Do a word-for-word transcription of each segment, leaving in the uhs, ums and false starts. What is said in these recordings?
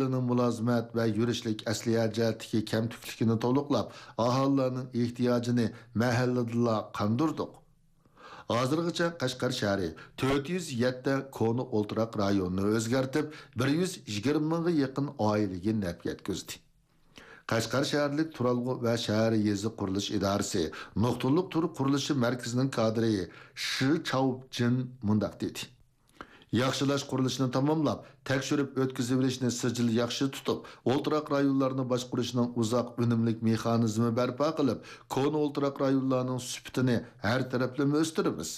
ئاھالىنىڭ مۇلازىمەت ۋە يۈرۈشلۈك ئەسلىھە جەھەتتىكى كەمتۈكلۈكىنى تولۇقلاپ، ئاھالىلەرنىڭ ئېھتىياجىنى مەھەللىدىلا قاندۇردۇق. ھازىرغىچە قەشقەر شەھىرى تۆت يۈز يەتتە كونا ئولتۇراق رايونىنى ئۆزگەرتىپ، بىر يۈز يىگىرمە مىڭغا يېقىن ئائىلىگە نەپ يەتكۈزدى. قەشقەر شەھەرلىك تۇرالغۇ ۋە شەھەر يېزا قۇرۇلۇش ئىدارىسى نۇقتىلىق تۈر قۇرۇلۇشى مەركىزىنىڭ كادىرى شى چاۋجىن مۇنداق دېدى: ياخشىلاش قۇرۇلۇشىنى تاماملاپ، تەكشۈرۈپ ئۆتكۈزۈۋېلىشنى سىجىل ياخشى تۇتۇپ، ئولتۇراق رايونلارنى باشقۇرۇشنىڭ ئۇزاق ئۈنۈملۈك مېخانىزمى بەرپا قىلىپ، كونا ئولتۇراق رايونلارنىڭ سۈپىتىنى ھەر تەرەپلىمە ئۆستۈرىمىز.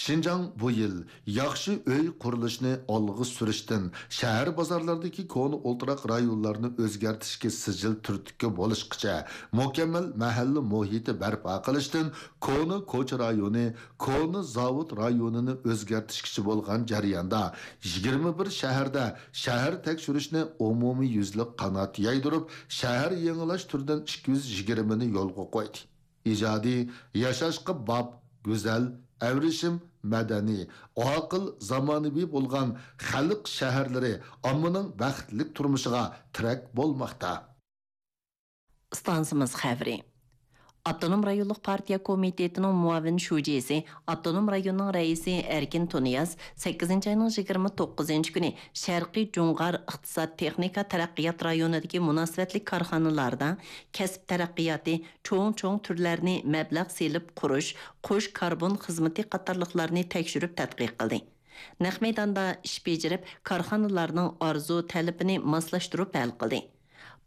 شىنجاڭ بۇ يىل ياخشى ئۆي قۇرۇلۇشىنى ئالغا سۈرۈشتىن، شەھەر بازارلاردىكى كونا ئولتۇراق رايونلارنى ئۆزگەرتىشكە سىجىل تۈرتكە بولۇشقىچە مۇكەممەل مەھەللە مۇھىتى بەرپا قىلىشتىن، كونا كوچا رايونى، كونا زاۋۇت رايونىنى ئۆزگەرتىشكىچە بولغان جەرياندا، يىگىرمە بىر شەھەردە شەھەر تەكشۈرۈشنى ئومۇميۈزلۈك قانات يايدۇرۇپ، شەھەر يېڭىلاش تۈرىدىن ئىككى يۈز يىگىرمىنى يولغا قويدى. ئىجادىي، ياشاشقا باب، گۈزەل، ئەۋرىشىم، مەدەنىي، ئاقىل، زامانىۋى بولغان خەلق شەھەرلىرى ئاممىنىڭ بەختلىك تۇرمۇشىغا تىرەك بولماقتا. ئىستانسىمىز خەۋىرى. ئاپتونوم رايونلۇق پارتىيە كومىتېتىنىڭ مۇئاۋىن شۇجىسى، ئاپتونوم رايوننىڭ رەئىسى ئەركىن تۇنىياز سەككىزىنچى ئاينىڭ يىگىرمە توققۇزىنچى كۈنى شەرقىي جۇڭغار ئىقتىساد تېخنىكا تەرەققىيات رايونىدىكى مۇناسىۋەتلىك كارخانىلاردا كەسىپ تەرەققىياتى، چوڭ-چوڭ تۈرلەرنى مەبلەغ سېلىپ قۇرۇش، قوش كاربون خىزمىتى قاتارلىقلارنى تەكشۈرۈپ تەتقىق قىلدى. نەق مەيداندا ئىش بېجىرىپ، كارخانىلارنىڭ ئارزۇ تەلىپىنى ماسلاشتۇرۇپ ھەل قىلدى.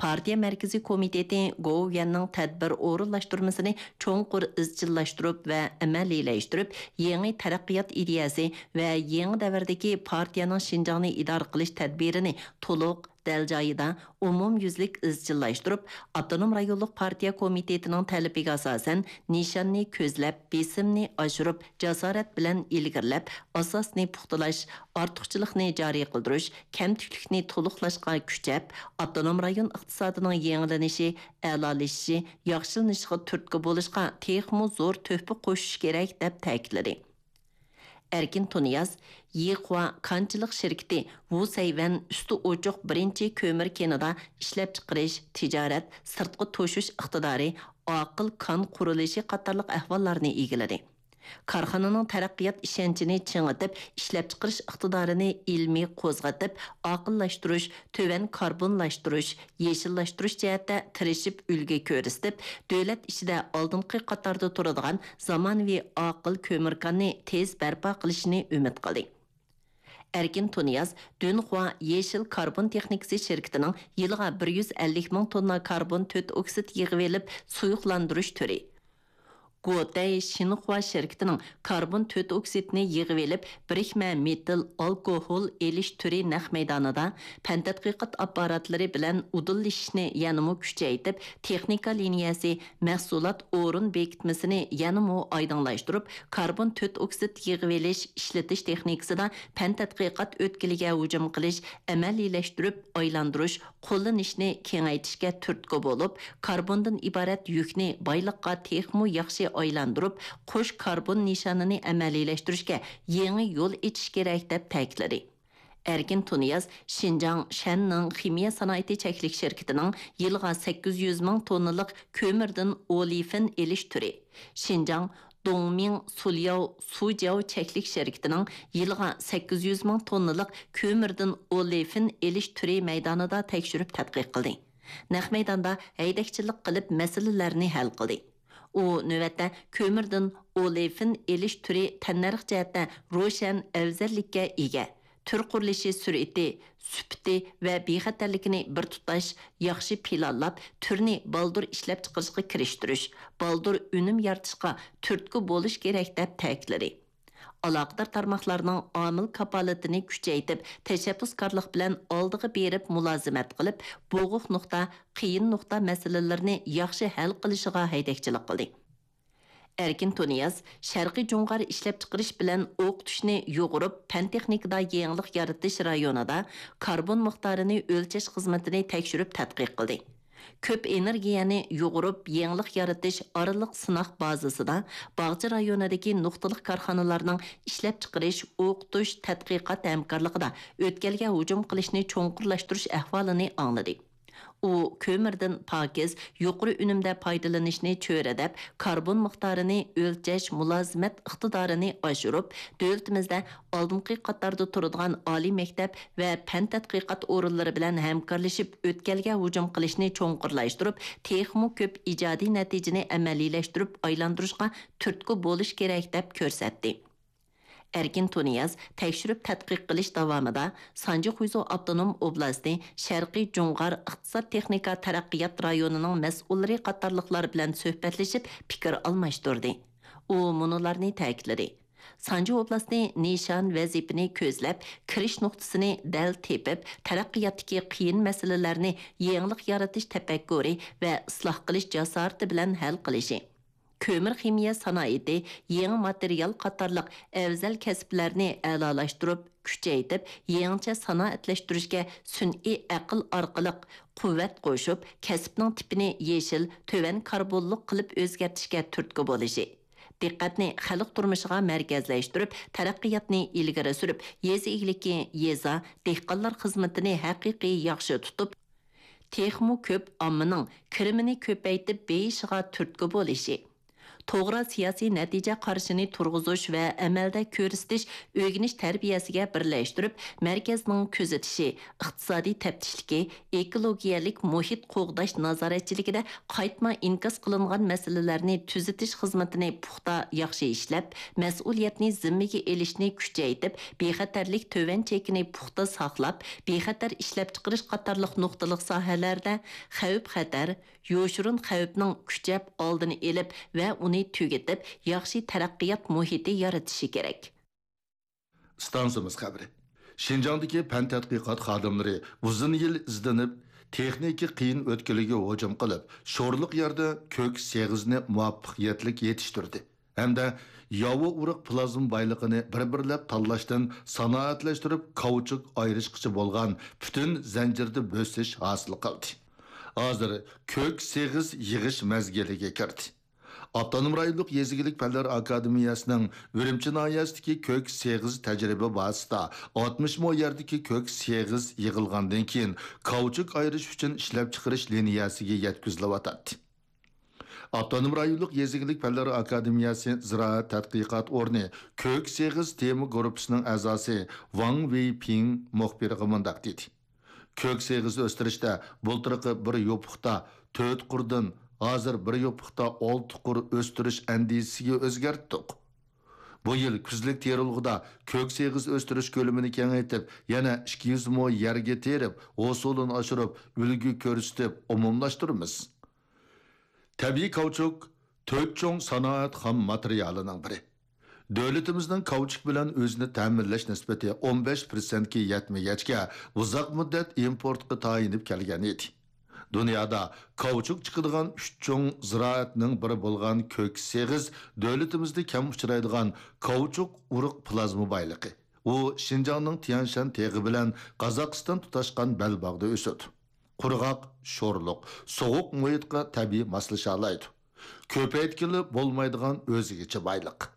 پارتىيە مەركىزىي كومىتېتى گوۋۇيۈەننىڭ تەدبىر ئورۇنلاشتۇرمىسىنى چوڭقۇر ئىزچىللاشتۇرۇپ ۋە ئەمەلىيلەشتۈرۈپ، يېڭى تەرەققىيات ئىدىيەسى ۋە يېڭى دەۋردىكى پارتىيەنىڭ شىنجاڭنى ئىدارە قىلىش تەدبىرىنى تولۇق، دەل جايىدا، ئومۇميۈزلۈك ئىزچىللاشتۇرۇپ، ئاپتونوم رايونلۇق پارتىيە كومىتېتىنىڭ تەلىپىگە ئاساسەن، نىشاننى كۆزلەپ، بېسىمنى ئاشۇرۇپ، جاسارەت بىلەن ئىلگىرىلەپ، ئاساسنى پۇختىلاش، ئارتۇقچىلىقنى جارى قىلدۇرۇش، كەمتۈكلۈكنى تولۇقلاشقا كۈچەپ، ئاپتونوم رايون ئىقتىسادىنىڭ يېڭىلىنىشى، ئەلالىشىشى، ياخشىلىنىشىغا تۈرتكە بولۇشقا تېخىمۇ زور تۆھپە قوشۇش كېرەك، دەپ تەكىتلىدى. ئەركىن تۇنىياز يىخۇا كانچىلىق شىركىتى ۋۇسەيۋەن ئۈستى ئوچۇق بىرىنچى كۆمۈر كېنىدا ئىشلەپچىقىرىش، تىجارەت، سىرتقا توشۇش ئىقتىدارى، ئاقىل كان قۇرۇلۇشى قاتارلىق ئەھۋاللارنى ئىگىلىدى. كارخانىنىڭ تەرەققىيات ئىشەنچىنى چىڭىتىپ، ئىشلەپچىقىرىش ئىقتىدارىنى ئىلمىي قوزغىتىپ، ئاقىللاشتۇرۇش، تۆۋەن كاربونلاشتۇرۇش، يېشىللاشتۇرۇش جەھەتتە تىرىشىپ ئۈلگە كۆرسىتىپ، دۆلەت ئىچىدە ئالدىنقى قاتاردا تۇرىدىغان زامانىۋى ئاقىل كۆمۈر كاننى تېز بەرپا قىلىشىنى ئۈمىد قىلدى. ئەركىن تۇنىياز دۈنخۇا يېشىل كاربون تېخنىكىسى شىركىتىنىڭ يىلىغا بىر يۈز ئەللىك مىڭ توننا كاربون تۆت ئوكسىد يىغىۋېلىپ سۇيۇقلاندۇرۇش تۈرى، گوتەي شىنخۇا شىركىتىنىڭ كاربون تۆت ئوكسىدنى يىغىۋېلىپ بىرىكمە مېتىل ئالكوھول ئېلىش تۈرى نەق مەيدانىدا پەن تەتقىقات ئاپپاراتلىرى بىلەن ئۇدۇللىشىشنى يەنىمۇ كۈچەيتىپ، تېخنىكا لىنىيەسى، مەھسۇلات ئورۇن بېكىتمىسىنى يەنىمۇ ئايدىڭلاشتۇرۇپ، كاربون تۆت ئوكسىد يىغىۋېلىش، ئىشلىتىش تېخنىكىسىدا پەن تەتقىقات ئۆتكىلىگە ھۇجۇم قىلىش، ئەمەلىيلەشتۈرۈپ ئايلاندۇرۇش، قوللىنىشنى كېڭەيتىشكە تۈرتكە بولۇپ، كاربوندىن ئىبارەت يۈكنى بايلىققا تېخىمۇ ياخشى ئايلاندۇرۇپ، قوش كاربون نىشانىنى ئەمەلىيلەشتۈرۈشكە يېڭى يول ئېچىش كېرەك، دەپ تەكىتلىدى. ئەركىن تۇنىياز شىنجاڭ شەننىڭ خىمىيە سانائىتى چەكلىك شىركىتىنىڭ يىلىغا سەككىز يۈز مىڭ توننىلىق كۆمۈردىن ئولېفىن ئېلىش تۈرى، شىنجاڭ دوڭمىڭ سۇلياۋ سۇجياۋ چەكلىك شىركىتىنىڭ يىلىغا سەككىز يۈز مىڭ توننىلىق كۆمۈردىن ئولېفىن ئېلىش تۈرى مەيدانىدا تەكشۈرۈپ تەتقىق قىلدى. نەق مەيداندا ھەيدەكچىلىك قىلىپ مەسىلىلەرنى ھەل قىلدى. ئۇ نۆۋەتتە كۆمۈردىن ئولېفىن ئېلىش تۈرى تەننەرخ جەھەتتە روشەن ئەۋزەللىككە ئىگە. تۈر قۇرۇلۇشى سۈرئىتى، سۈپىتى ۋە بىخەتەرلىكىنى بىر تۇتاش ياخشى پىلانلاپ، تۈرنى بالدۇر ئىشلەپچىقىرىشقا كىرىشتۈرۈش، بالدۇر ئۈنۈم يارىتىشقا تۈرتكە بولۇش كېرەك، دەپ تەكىتلىدى. ئالاقىدار تارماقلارنىڭ ئامىل كاپالىتىنى كۈچەيتىپ، تەشەببۇسكارلىق بىلەن ئالدىغا بېرىپ مۇلازىمەت قىلىپ، بوغۇق نۇقتا، قىيىن نۇقتا مەسىلىلىرىنى ياخشى ھەل قىلىشىغا ھەيدەكچىلىك قىلدى. ئەركىن تۇنىياز شەرقىي جۇڭغار ئىشلەپچىقىرىش بىلەن ئوقۇتۇشنى يۇغۇرۇپ، پەن تېخنىكىدا يېڭىلىق يارىتىش رايونىدا كاربون مىقدارىنى ئۆلچەش خىزمىتىنى تەكشۈرۈپ تەتقىق قىلدى. كۆپ ئېنېرگىيەنى يۇغۇرۇپ، يېڭىلىق يارىتىش ئارىلىق سىناق بازىسىدا باغچە رايونىدىكى نۇقتىلىق كارخانىلارنىڭ ئىشلەپچىقىرىش، ئوقۇتۇش، تەتقىقات ھەمكارلىقىدا ئۆتكەلگە ھۇجۇم قىلىشنى چوڭقۇرلاشتۇرۇش ئەھۋالىنى ئاڭلىدى. ئۇ كۆمۈردىن پاكىز، يۇقىرى ئۈنۈمدە پايدىلىنىشنى چۆرىدەپ، كاربون مىقدارىنى ئۆلچەش مۇلازىمەت ئىقتىدارىنى ئاشۇرۇپ، دۆلىتىمىزدە ئالدىنقى قاتاردا تۇرىدىغان ئالىي مەكتەپ ۋە پەن تەتقىقات ئورۇنلىرى بىلەن ھەمكارلىشىپ، ئۆتكەلگە ھۇجۇم قىلىشنى چوڭقۇرلاشتۇرۇپ، تېخىمۇ كۆپ ئىجادىي نەتىجىنى ئەمەلىيلەشتۈرۈپ ئايلاندۇرۇشقا تۈرتكە بولۇش كېرەك، دەپ كۆرسەتتى. ئەركىن تۇنىياز تەكشۈرۈپ تەتقىق قىلىش داۋامىدا سانجى خۇيزۇ ئاپتونوم ئوبلاستى شەرقىي جۇڭغار ئىقتىساد تېخنىكا تەرەققىيات رايونىنىڭ مەسئۇللىرى قاتارلىقلار بىلەن سۆھبەتلىشىپ پىكىر ئالماشتۇردى. ئۇ مۇنۇلارنى تەكىتلىدى: سانجى ئوبلاستى نىشان ۋەزىپىنى كۆزلەپ، كىرىش نۇقتىسىنى دەل تېپىپ، تەرەققىياتتىكى قىيىن مەسىلىلەرنى يېڭىلىق يارىتىش تەپەككۇرى ۋە ئىسلاھ قىلىش جاسارىتى بىلەن ھەل قىلىشى، كۆمۈر خىمىيە سانائىتى، يېڭى ماتېرىيال قاتارلىق ئەۋزەل كەسىپلەرنى ئەلالاشتۇرۇپ، كۈچەيتىپ، يېڭىچە سانائەتلەشتۈرۈشكە سۈنئىي ئەقىل ئارقىلىق قۇۋۋەت قوشۇپ، كەسىپنىڭ تىپىنى يېشىل، تۆۋەن كاربونلۇق قىلىپ ئۆزگەرتىشكە تۈرتكە بولۇشى، دىققەتنى خەلق تۇرمۇشىغا مەركەزلەشتۈرۈپ، تەرەققىياتنى ئىلگىرى سۈرۈپ، يېزا ئىگىلىكى، يېزا، دېھقانلار خىزمىتىنى ھەقىقىي ياخشى تۇتۇپ، تېخىمۇ كۆپ ئاممىنىڭ كىرىمىنى كۆپەيتىپ بېيىشىغا تۈرتكە بولۇشى، توغرا سىياسىي نەتىجە قارىشىنى تۇرغۇزۇش ۋە ئەمەلدە كۆرسىتىش ئۆگىنىش تەربىيەسىگە بىرلەشتۈرۈپ، مەركەزنىڭ كۆزىتىشى، ئىقتىسادىي تەپتىشلىكى، ئېكولوگىيەلىك مۇھىت قوغداش نازارەتچىلىكىدە قايتما ئىنكاس قىلىنغان مەسىلىلەرنى تۈزىتىش خىزمىتىنى پۇختا، ياخشى ئىشلەپ، مەسئۇلىيەتنى زىممىگە ئېلىشنى كۈچەيتىپ، بىخەتەرلىك تۆۋەن چېكىنى پۇختا ساقلاپ، بىخەتەر ئىشلەپچىقىرىش قاتارلىق نۇقتىلىق ساھەلەردە خەۋپ-خەتەر، يوشۇرۇن خەۋپنىڭ كۈچەپ ئالدىنى ئېلىپ ۋە ئۇنى تۈگىتىپ، ياخشى تەرەققىيات مۇھىتى يارىتىشى كېرەك. ئىستانسىمىز خەۋىرى. شىنجاڭدىكى پەن تەتقىقات خادىملىرى ئۇزۇن يىل ئىزدىنىپ، تېخنىكا قىيىن ئۆتكىلىگە ھۇجۇم قىلىپ، شورلۇق يەردە كۆك سېغىزنى مۇۋەپپەقىيەتلىك يېتىشتۈردى ھەمدە ياۋا ئۇرۇق پلازما بايلىقىنى بىر-بىرلەپ تاللاشتىن سانائەتلەشتۈرۈپ، كاۋچۇك ئايرىشقىچە بولغان پۈتۈن زەنجىردە بۆسۈش ھاسىل قىلدى. ھازىر كۆك سېغىز يىغىش مەزگىلىگە كىردى. ئاپتونوم رايونلۇق يېزا ئىگىلىك پەنلەر ئاكادېمىيەسىنىڭ ئۈرۈمچى ناھىيەسىدىكى كۆك سېغىز تەجرىبە بازىسىدا ئاتمىش مو يەردىكى كۆك سېغىز يىغىلغاندىن كېيىن، كاۋچۇك ئايرىش ئۈچۈن ئىشلەپچىقىرىش لىنىيەسىگە يەتكۈزۈلۈۋاتاتتى. ئاپتونوم رايونلۇق يېزا ئىگىلىك پەنلەر ئاكادېمىيەسى زىرائەت تەتقىقات ئورنى كۆك سېغىز تېما گۇرۇپپىسىنىڭ ئەزاسى ۋاڭ ۋېيپىڭ مۇخبىرغا مۇنداق دېدى: كۆك سېغىز ئۆستۈرۈشتە بۇلتۇرقى بىر يوپۇقتا تۆت قۇردىن ھازىر بىر يوپۇقتا ئالتە قۇر ئۆستۈرۈش ئەندىزىسىگە ئۆزگەرتتۇق. بۇ يىل كۈزلۈك تېرىلغۇدا كۆك سېغىز ئۆستۈرۈش كۆلىمىنى كېڭەيتىپ، يەنە ئىككى يۈز مو يەرگە تېرىپ، ھوسۇلىنى ئاشۇرۇپ، ئۈلگە كۆرسىتىپ ئومۇملاشتۇرىمىز. تەبىئىي كاۋچۇك تۆت چوڭ سانائەت خام ماتېرىيالىنىڭ بىرى. دۆلىتىمىزنىڭ كاۋچۇك بىلەن ئۆزىنى تەمىنلەش نىسبىتى ئون بەش پىرسەنتكە يەتمىگەچكە، ئۇزاق مۇددەت ئىمپورتقا تايىنىپ كەلگەن ئىدى. دۇنيادا كاۋچۇك چىقىدىغان ئۈچ چوڭ زىرائەتنىڭ بىرى بولغان كۆك سېغىز دۆلىتىمىزدە كەم ئۇچرايدىغان كاۋچۇك ئۇرۇق پلازما بايلىقى. ئۇ شىنجاڭنىڭ تيەنشان تېغى بىلەن قازاقىستان تۇتاشقان بەلباغدا ئۆسىدۇ. قۇرغاق، شورلۇق، سوغۇق مۇھىتقا تەبىئىي ماسلىشالايدۇ. كۆپەيتكىلى بولمايدىغان ئۆزگىچە بايلىق.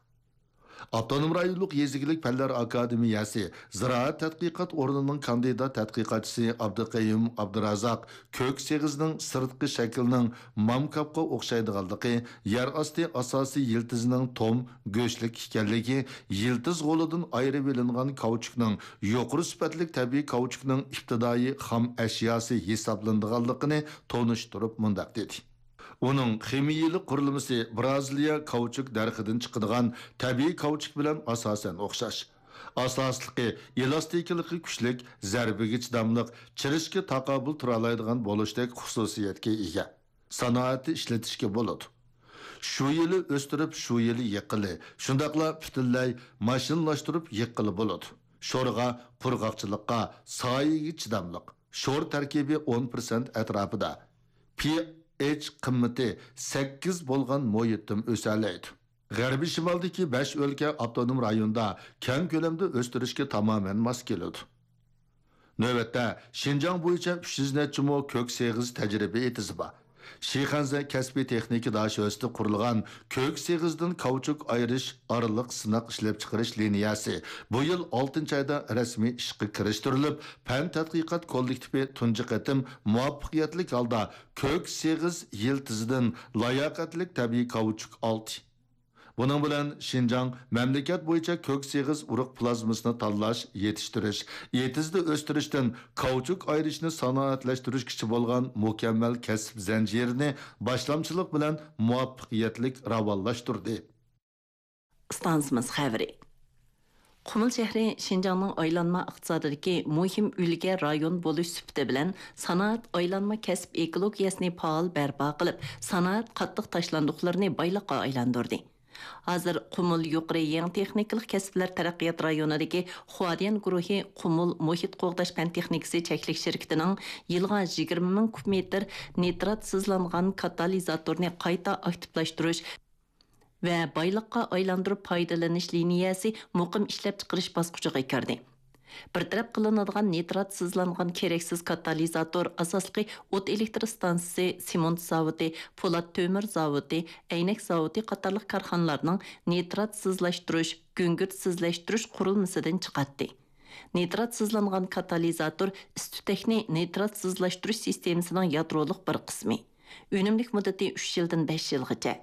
ئاپتونوم رايونلۇق يېزا ئىگىلىك پەنلەر ئاكادېمىيەسى زىرائەت تەتقىقات ئورنىنىڭ كاندىدات تەتقىقاتچىسى ئابدۇقەييۇم ئابدۇرازاق كۆك سېغىزنىڭ سىرتقى شەكلىنىڭ مامكاپقا ئوخشايدىغانلىقى، يەر ئاستى ئاساسىي يىلتىزىنىڭ توم، گۆشلۈك ئىكەنلىكى، يىلتىز غولىدىن ئايرىۋېلىنغان كاۋچۇكنىڭ يۇقىرى سۈپەتلىك تەبىئىي كاۋچۇكنىڭ ئىپتىدائىي خام ئەشياسى ھېسابلىنىدىغانلىقىنى تونۇشتۇرۇپ مۇنداق دېدى: ئۇنىڭ خىمىيىلىك قۇرۇلمىسى برازىلىيە كاۋچۇك دەرىخىدىن چىقىدىغان تەبىئىي كاۋچۇك بىلەن ئاساسەن ئوخشاش. ئاساسلىقى ئېلاستىكىلىقى كۈچلۈك، زەربىگە چىداملىق، چىرىشقا تاقابىل تۇرالايدىغان بولۇشتەك خۇسۇسىيەتكە ئىگە. سانائەتتە ئىشلىتىشكە بولىدۇ. شۇ يىلى ئۆستۈرۈپ، شۇ يىلى يىغقىلى، شۇنداقلا پۈتۈنلەي ماشىنىلاشتۇرۇپ يىغقىلى بولىدۇ. شورغا، قۇرغاقچىلىققا، سايىگە چىداملىق. شور تەركىبى ئون پىرسەنت ئەتراپىدا. پى ئېچ قىممىتى سەككىز بولغان مۇھىتتىمۇ ئۆسەلەيدۇ. غەربىي شىمالدىكى بەش ئۆلكە ئاپتونوم رايوندا كەڭ كۆلەمدە ئۆستۈرۈشكە تامامەن ماس كېلىدۇ. نۆۋەتتە شىنجاڭ بويىچە ئۈچ يۈز نەچچە مو كۆك سېغىز تەجرىبە ئېتىزى بار. شىخەنزە كەسپىي تېخنىكا داشۆسىدە قۇرۇلغان كۆك سېغىزدىن كاۋچۇك ئايرىش ئارىلىق سىناق ئىشلەپچىقىرىش لىنىيەسى بۇ يىل ئالتىنچى ئايدا رەسمىي ئىشقا كىرىشتۈرۈلۈپ، پەن تەتقىقات كوللېكتىپى تۇنجى قېتىم مۇۋەپپەقىيەتلىك ھالدا كۆك سېغىز يىلتىزىدىن لاياقەتلىك تەبىئىي كاۋچۇك ئالدى. بۇنىڭ بىلەن شىنجاڭ مەملىكەت بويىچە كۆك سېغىز ئۇرۇق پلازمىسىنى تاللاش، يېتىشتۈرۈش، ئېتىزدا ئۆستۈرۈشتىن كاۋچۇك ئايرىشنى سانائەتلەشتۈرۈشكىچە بولغان مۇكەممەل كەسىپ زەنجىرىنى باشلامچىلىق بىلەن مۇۋەپپەقىيەتلىك راۋانلاشتۇردى. ئىستانسىمىز خەۋىرى. قۇمۇل شەھىرى شىنجاڭنىڭ ئايلانما ئىقتىسادىدىكى مۇھىم ئۈلگە رايون بولۇش سۈپىتى بىلەن، سانائەت ئايلانما كەسىپ ئېكولوگىيەسىنى پائال بەرپا قىلىپ، سانائەت قاتتىق تاشلاندۇقلىرىنى بايلىققا ئايلاندۇردى. ھازىر قۇمۇل يۇقىرى يېڭى تېخنىكىلىق كەسىپلەر تەرەققىيات رايونىدىكى خۇاديەن گۇرۇھى قۇمۇل مۇھىت قوغداش پەن تېخنىكىسى چەكلىك شىركىتىنىڭ يىلىغا يىگىرمە مىڭ كۇب مېتىر نىتراتسىزلانغان كاتالىزاتورنى قايتا ئاكتىپلاشتۇرۇش ۋە بايلىققا ئايلاندۇرۇپ پايدىلىنىش لىنىيەسى مۇقىم ئىشلەپچىقىرىش باسقۇچىغا كىردى. بىر تەرەپ قىلىنىدىغان نىتراتسىزلانغان كېرەكسىز كاتالىزاتور ئاساسلىقى ئوت ئېلېكتر ئىستانسىسى، سېمونت زاۋۇتى، پولات تۆمۈر زاۋۇتى، ئەينەك زاۋۇتى قاتارلىق كارخانىلارنىڭ نىتراتسىزلاشتۇرۇش، گۈڭگۈرتسىزلەشتۈرۈش قۇرۇلمىسىدىن چىقاتتى. نىتراتسىزلانغان كاتالىزاتور ئىس-تۈتەكنى نىتراتسىزلاشتۇرۇش سىستېمىسىنىڭ يادرولۇق بىر قىسمى. ئۈنۈملۈك مۇددىتى ئۈچ يىلدىن بەش يىلغىچە.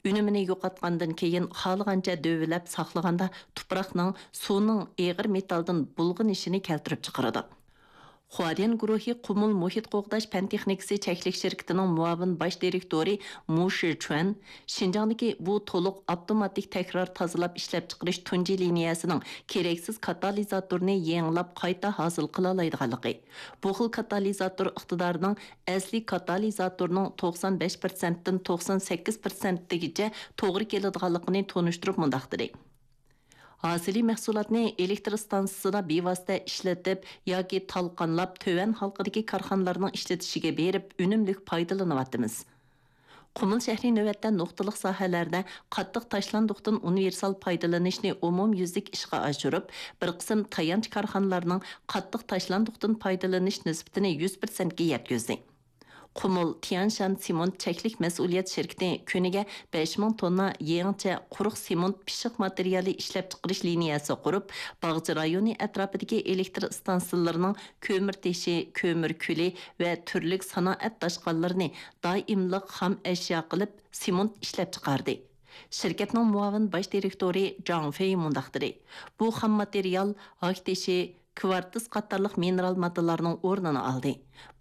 ئۈنۈمىنى يوقاتقاندىن كېيىن خالىغانچە دۆۋىلەپ ساقلىغاندا، تۇپراقنىڭ، سۇنىڭ ئېغىر مېتالدىن بۇلغىنىشىنى كەلتۈرۈپ چىقىرىدۇ. خۇاديەن گۇرۇھى قۇمۇل مۇھىت قوغداش پەن تېخنىكىسى چەكلىك شىركىتىنىڭ مۇئاۋىن باش دىرېكتورى مۇ شىچۈەن شىنجاڭدىكى بۇ تولۇق ئاپتوماتىك تەكرار تازىلاپ ئىشلەپچىقىرىش تۇنجى لىنىيەسىنىڭ كېرەكسىز كاتالىزاتورنى يېڭىلاپ قايتا ھاسىل قىلالايدىغانلىقى، بۇ خىل كاتالىزاتور ئىقتىدارىنىڭ ئەسلىي كاتالىزاتورنىڭ توقسان بەش پىرسەنتتىن توقسان سەككىز پىرسەنتىگىچە توغرا كېلىدىغانلىقىنى تونۇشتۇرۇپ مۇنداق دېدى: ھاسىلىي مەھسۇلاتنى ئېلېكتر ئىستانسىسىدا بىۋاسىتە ئىشلىتىپ ياكى تالقانلاپ، تۆۋەن ھالقىدىكى كارخانىلارنىڭ ئىشلىتىشىگە بېرىپ، ئۈنۈملۈك پايدىلىنىۋاتىمىز. قۇمۇل شەھىرى نۆۋەتتە نۇقتىلىق ساھەلەردە قاتتىق تاشلاندۇقتىن ئۇنىۋېرسال پايدىلىنىشنى ئومۇميۈزلۈك ئىشقا ئاشۇرۇپ، بىر قىسىم تايانچ كارخانىلارنىڭ قاتتىق تاشلاندۇقتىن پايدىلىنىش نىسبىتىنى يۈز پىرسەنتكە يەتكۈزدى. قۇمۇل تيەنشان سېمونت چەكلىك مەسئۇلىيەت شىركىتى كۈنىگە بەش مىڭ توننا يېڭىچە قۇرۇق سېمونت پىششىق ماتېرىيالى ئىشلەپچىقىرىش لىنىيەسى قۇرۇپ، باغچە رايونى ئەتراپىدىكى ئېلېكتر ئىستانسىلىرىنىڭ كۆمۈر تېشى، كۆمۈر كۈلى ۋە تۈرلۈك سانائەت داشقاللىرىنى دائىملىق خام ئەشيا قىلىپ، سېمونت ئىشلەپچىقاردى. شىركەتنىڭ مۇئاۋىن باش دىرېكتورى جاڭ فېي مۇنداق دېدى: بۇ خام ماتېرىيال ھاك تېشى، كۋارتس قاتارلىق مىنېرال ماددىلارنىڭ ئورنىنى ئالدى.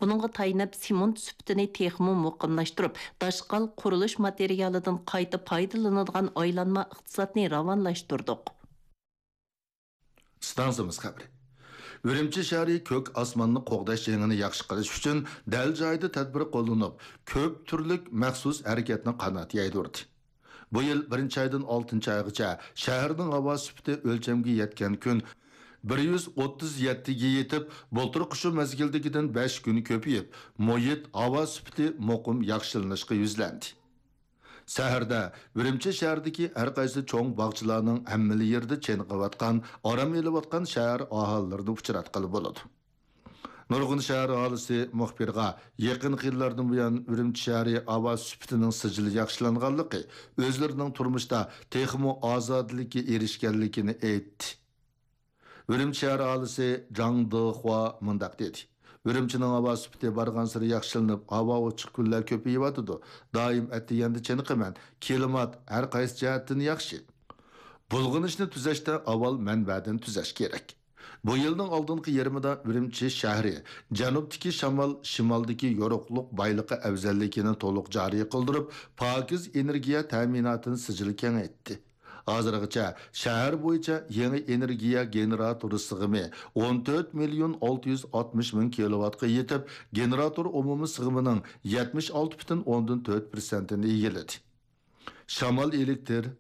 بۇنىڭغا تايىنىپ، سېمونت سۈپىتىنى تېخىمۇ مۇقىملاشتۇرۇپ، داشقال قۇرۇلۇش ماتېرىيالىدىن قايتا پايدىلىنىدىغان ئايلانما ئىقتىسادنى راۋانلاشتۇردۇق. ئىستانسىمىز خەۋىرى. ئۈرۈمچى شەھىرى كۆك ئاسماننى قوغداش جېڭىنى ياخشى قىلىش ئۈچۈن دەل جايىدا تەدبىر قوللىنىپ، كۆپ تۈرلۈك مەخسۇس ھەرىكەتنى قانات يايدۇردى. بۇ يىل بىرىنچى ئايدىن ئالتىنچى ئايغىچە شەھەرنىڭ ھاۋا سۈپىتى ئۆلچەمگە يەتكەن كۈن بىر يۈز ئوتتۇز يەتتىگە يېتىپ، بۇلتۇرقى شۇ مەزگىلدىكىدىن بەش كۈن كۆپىيىپ، مۇھىت ھاۋا سۈپىتى مۇقىم ياخشىلىنىشقا يۈزلەندى. سەھەردە ئۈرۈمچى شەھىرىدىكى ھەر قايسى چوڭ باغچىلارنىڭ ھەممىلا يېرىدە چېنىقىۋاتقان، ئارام ئېلىۋاتقان شەھەر ئاھالىلىرىنى ئۇچراتقىلى بولىدۇ. نۇرغۇن شەھەر ئاھالىسى مۇخبىرغا يېقىنقى يىللاردىن بۇيان ئۈرۈمچى شەھىرى ھاۋا سۈپىتىنىڭ سىجىل ياخشىلانغانلىقى، ئۆزلىرىنىڭ تۇرمۇشتا تېخىمۇ ئازادىلىككە ئېرىشكەنلىكىنى ئېيتتى. ئۈرۈمچى شەھەر ئاھالىسى جاڭ دېخۇا مۇنداق دېدى: ئۈرۈمچىنىڭ ھاۋا سۈپىتى بارغانسېرى ياخشىلىنىپ، ھاۋا ئوچۇق كۈنلەر كۆپىيىۋاتىدۇ. دائىم ئەتىگەندە چېنىقىمەن. كىلىمات ھەر قايسى جەھەتتىن ياخشى. بۇلغىنىشنى تۈزەشتە ئاۋۋال مەنبەدىن تۈزەش كېرەك. بۇ يىلنىڭ ئالدىنقى يېرىمىدا ئۈرۈمچى شەھىرى جەنۇبتىكى شامال شىمالدىكى يورۇقلۇق بايلىقى ئەۋزەللىكىنى تولۇق جارى قىلدۇرۇپ، پاكىز ئېنېرگىيە تەمىناتىنى سىجىل كېڭەيتتى. ھازىرغىچە شەھەر بويىچە يېڭى ئېنېرگىيە گېنېراتورى سىغىمى ئون تۆت مىليون ئالتە يۈز ئاتمىش مىڭ كىلوۋاتقا يېتىپ، گېنېراتور ئومۇمىي سىغىمىنىڭ يەتمىش ئالتە پۈتۈن ئوندىن تۆت پىرسەنتىنى ئىگىلىدى. شامال ئېلېكتىر،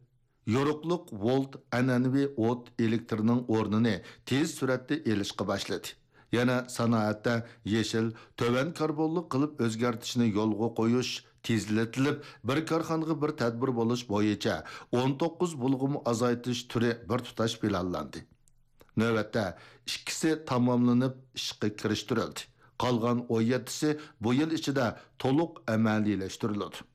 يورۇقلۇق ۋولت ئەنئەنىۋى ئوت ئېلېكتىرنىڭ ئورنىنى تېز سۈرئەتتە ئېلىشقا باشلىدى. يەنە سانائەتتە يېشىل، تۆۋەن كاربونلۇق قىلىپ ئۆزگەرتىشنى يولغا قويۇش تېزلىتىلىپ، بىر كارخانىغا بىر تەدبىر بولۇش بويىچە ئون توققۇز بۇلغىما ئازايتىش تۈرى بىر تۇتاش پىلانلاندى. نۆۋەتتە ئىككىسى تاماملىنىپ ئىشقا كىرىشتۈرۈلدى. قالغان ئون يەتتىسى بۇ يىل ئىچىدە تولۇق ئەمەلىيلەشتۈرۈلىدۇ.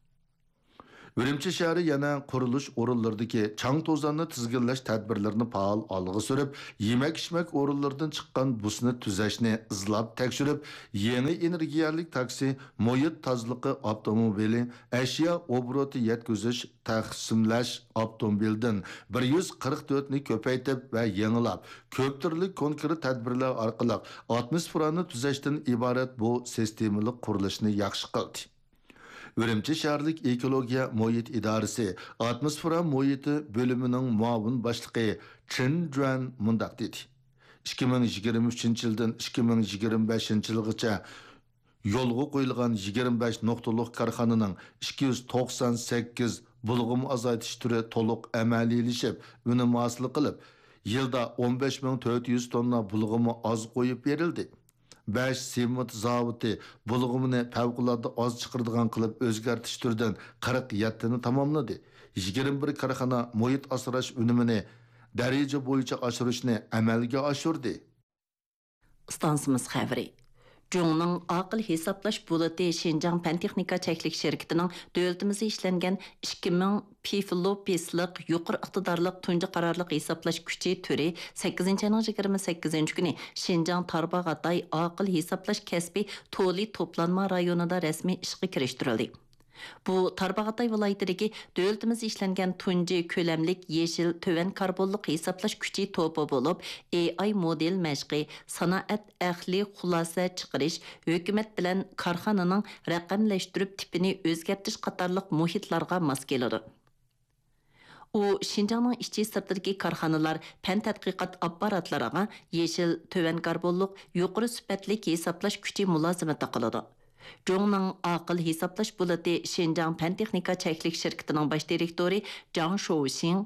ئۈرۈمچى شەھىرى يەنە قۇرۇلۇش ئورۇنلىرىدىكى چاڭ-توزاننى تىزگىنلەش تەدبىرلىرىنى پائال ئالغا سۈرۈپ، يېمەك-ئىچمەك ئورۇنلىرىدىن چىققان بۇسنى تۈزەشنى ئىزلاپ تەكشۈرۈپ، يېڭى ئېنېرگىيەلىك تاكسى، مۇھىت تازىلىقى ئاپتوموبىلى، ئەشيا ئوبوروتى يەتكۈزۈش، تەقسىملەش ئاپتوموبىلىدىن بىر يۈز قىرىق تۆتنى كۆپەيتىپ ۋە يېڭىلاپ، كۆپ تۈرلۈك كونكرېت تەدبىرلەر ئارقىلىق ئاتموسفېرانى تۈزەشتىن ئىبارەت بۇ سىستېمىلىق قۇرۇلۇشنى ياخشى قىلدى. ئۈرۈمچى شەھەرلىك ئېكولوگىيە مۇھىت ئىدارىسى ئاتموسفېرا مۇھىتى بۆلۈمىنىڭ مۇئاۋىن باشلىقى چېن جۈەن مۇنداق دېدى: «ئىككى مىڭ يىگىرمە ئۈچىنچى يىلدىن ئىككى مىڭ يىگىرمە بەشىنچى يىلغىچە يولغا قويۇلغان يىگىرمە بەش نۇقتىلىق كارخانىنىڭ ئىككى يۈز توقسان سەككىز بۇلغىما ئازايتىش تۈرى تولۇق ئەمەلىيلىشىپ، ئۈنۈم ھاسىل قىلىپ، يىلدا ئون بەش مىڭ تۆت يۈز توننا بۇلغىما ئاز قويۇپ بېرىلدى. بەش سېمونت زاۋۇتى بۇلغىمىنى پەۋقۇلئاددە ئاز چىقىرىدىغان قىلىپ ئۆزگەرتىش تۈرىدىن قىرىق يەتتىنى تاماملىدى. يىگىرمە بىر كارخانا مۇھىت ئاسراش ئۈنۈمىنى دەرىجە بويىچە ئاشۇرۇشنى ئەمەلگە ئاشۇردى.» ئىستانسىمىز خەۋىرى. جۇڭنىڭ ئاقىل ھېسابلاش بولۇتى شىنجاڭ پەن تېخنىكا چەكلىك شىركىتىنىڭ دۆلىتىمىزدە ئىشلەنگەن ئىككى مىڭ پىفلوپىسلىق يۇقىرى ئىقتىدارلىق تۇنجى قارارلىق ھېسابلاش كۈچى تۈرى سەككىزىنچى ئاينىڭ يىگىرمە سەككىزىنچى كۈنى شىنجاڭ تارباغاتاي ئاقىل ھېسابلاش كەسپى تولى توپلانما رايونىدا رەسمىي ئىشقا كىرىشتۈرۈلدى. بۇ تارباغاتاي ۋىلايىتىدىكى دۆلىتىمىزدە ئىشلەنگەن تۇنجى كۆلەملىك يېشىل تۆۋەن كاربونلۇق ھېسابلاش كۈچى توپى بولۇپ، ئېي ئاي مودېل مەشقى، سانائەت ئەقلىي خۇلاسە چىقىرىش، ھۆكۈمەت بىلەن كارخانىنىڭ رەقەملەشتۈرۈپ تىپىنى ئۆزگەرتىش قاتارلىق مۇھىتلارغا ماس كېلىدۇ. ئۇ شىنجاڭنىڭ ئىچى سىرتىدىكى كارخانىلار، پەن تەتقىقات ئاپپاراتلىرىغا يېشىل، تۆۋەن كاربونلۇق، يۇقىرى سۈپەتلىك ھېسابلاش كۈچى مۇلازىمىتى قىلىدۇ. جۇڭنىڭ ئاقىل ھېسابلاش بولۇتى شىنجاڭ پەن تېخنىكا چەكلىك شىركىتىنىڭ باش دىرېكتورى جاڭ شوۋشىڭ،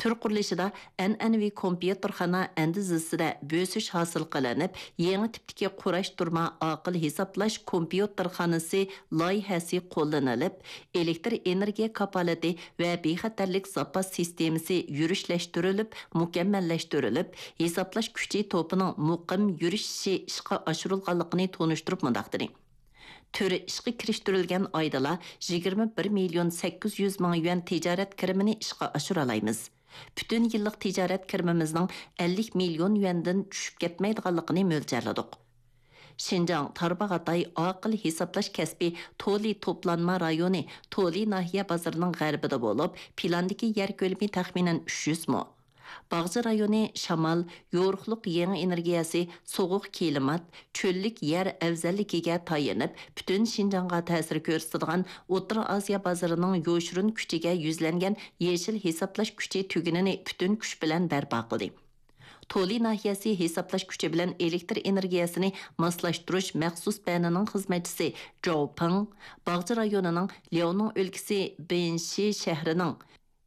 تۈر قۇرۇلۇشىدا ئەنئەنىۋى كومپيۇتېرخانا ئەندىزىسىدە بۆسۈش ھاسىل قىلىنىپ، يېڭى تىپتىكى قۇراشتۇرما ئاقىل ھېسابلاش كومپيۇتېرخانىسى لايىھەسى قوللىنىلىپ، ئېلېكتر ئېنېرگىيە كاپالىتى ۋە بىخەتەرلىك زاپاس سىستېمىسى يۈرۈشلەشتۈرۈلۈپ، مۇكەممەللەشتۈرۈلۈپ، ھېسابلاش كۈچى توپىنىڭ مۇقىم يۈرۈشۈشى ئىشقا ئاشۇرۇلغانلىقىنى تونۇشتۇرۇپ مۇنداق دېدى: تۈر ئىشقا كىرىشتۈرۈلگەن ئايدىلا يىگىرمە بىر مىليون سەككىز يۈز مىڭ يۈەن تىجارەت كىرىمىنى ئىشقا ئاشۇرالايمىز. پۈتۈن يىللىق تىجارەت كىرىمىمىزنىڭ ئەللىك مىليون يۈەندىن چۈشۈپ كەتمەيدىغانلىقىنى مۆلچەرلىدۇق. شىنجاڭ تارباغاتاي ئاقىل ھېسابلاش كەسپى تولى توپلانما رايونى تولى ناھىيە بازىرىنىڭ غەربىدە بولۇپ، پىلاندىكى يەر كۆلىمى تەخمىنەن ئۈچ يۈز مو. باغچە رايونى شامال، يورۇقلۇق يېڭى ئېنېرگىيەسى، سوغۇق كىلىمات، چۆللۈك يەر ئەۋزەللىكىگە تايىنىپ، پۈتۈن شىنجاڭغا تەسىر كۆرسىتىدىغان ئوتتۇرا ئاسىيا بازىرىنىڭ يوشۇرۇن كۈچىگە يۈزلەنگەن يېشىل ھېسابلاش كۈچى تۈگۈنىنى پۈتۈن كۈچ بىلەن بەرپا قىلدى. تولى ناھىيەسى ھېسابلاش كۈچى بىلەن ئېلېكتر ئېنېرگىيەسىنى ماسلاشتۇرۇش مەخسۇس بەنىنىڭ خىزمەتچىسى جاۋ پېڭ، باغچە رايونىنىڭ لياۋنىڭ ئۆلكىسى بېنشى شەھىرىنىڭ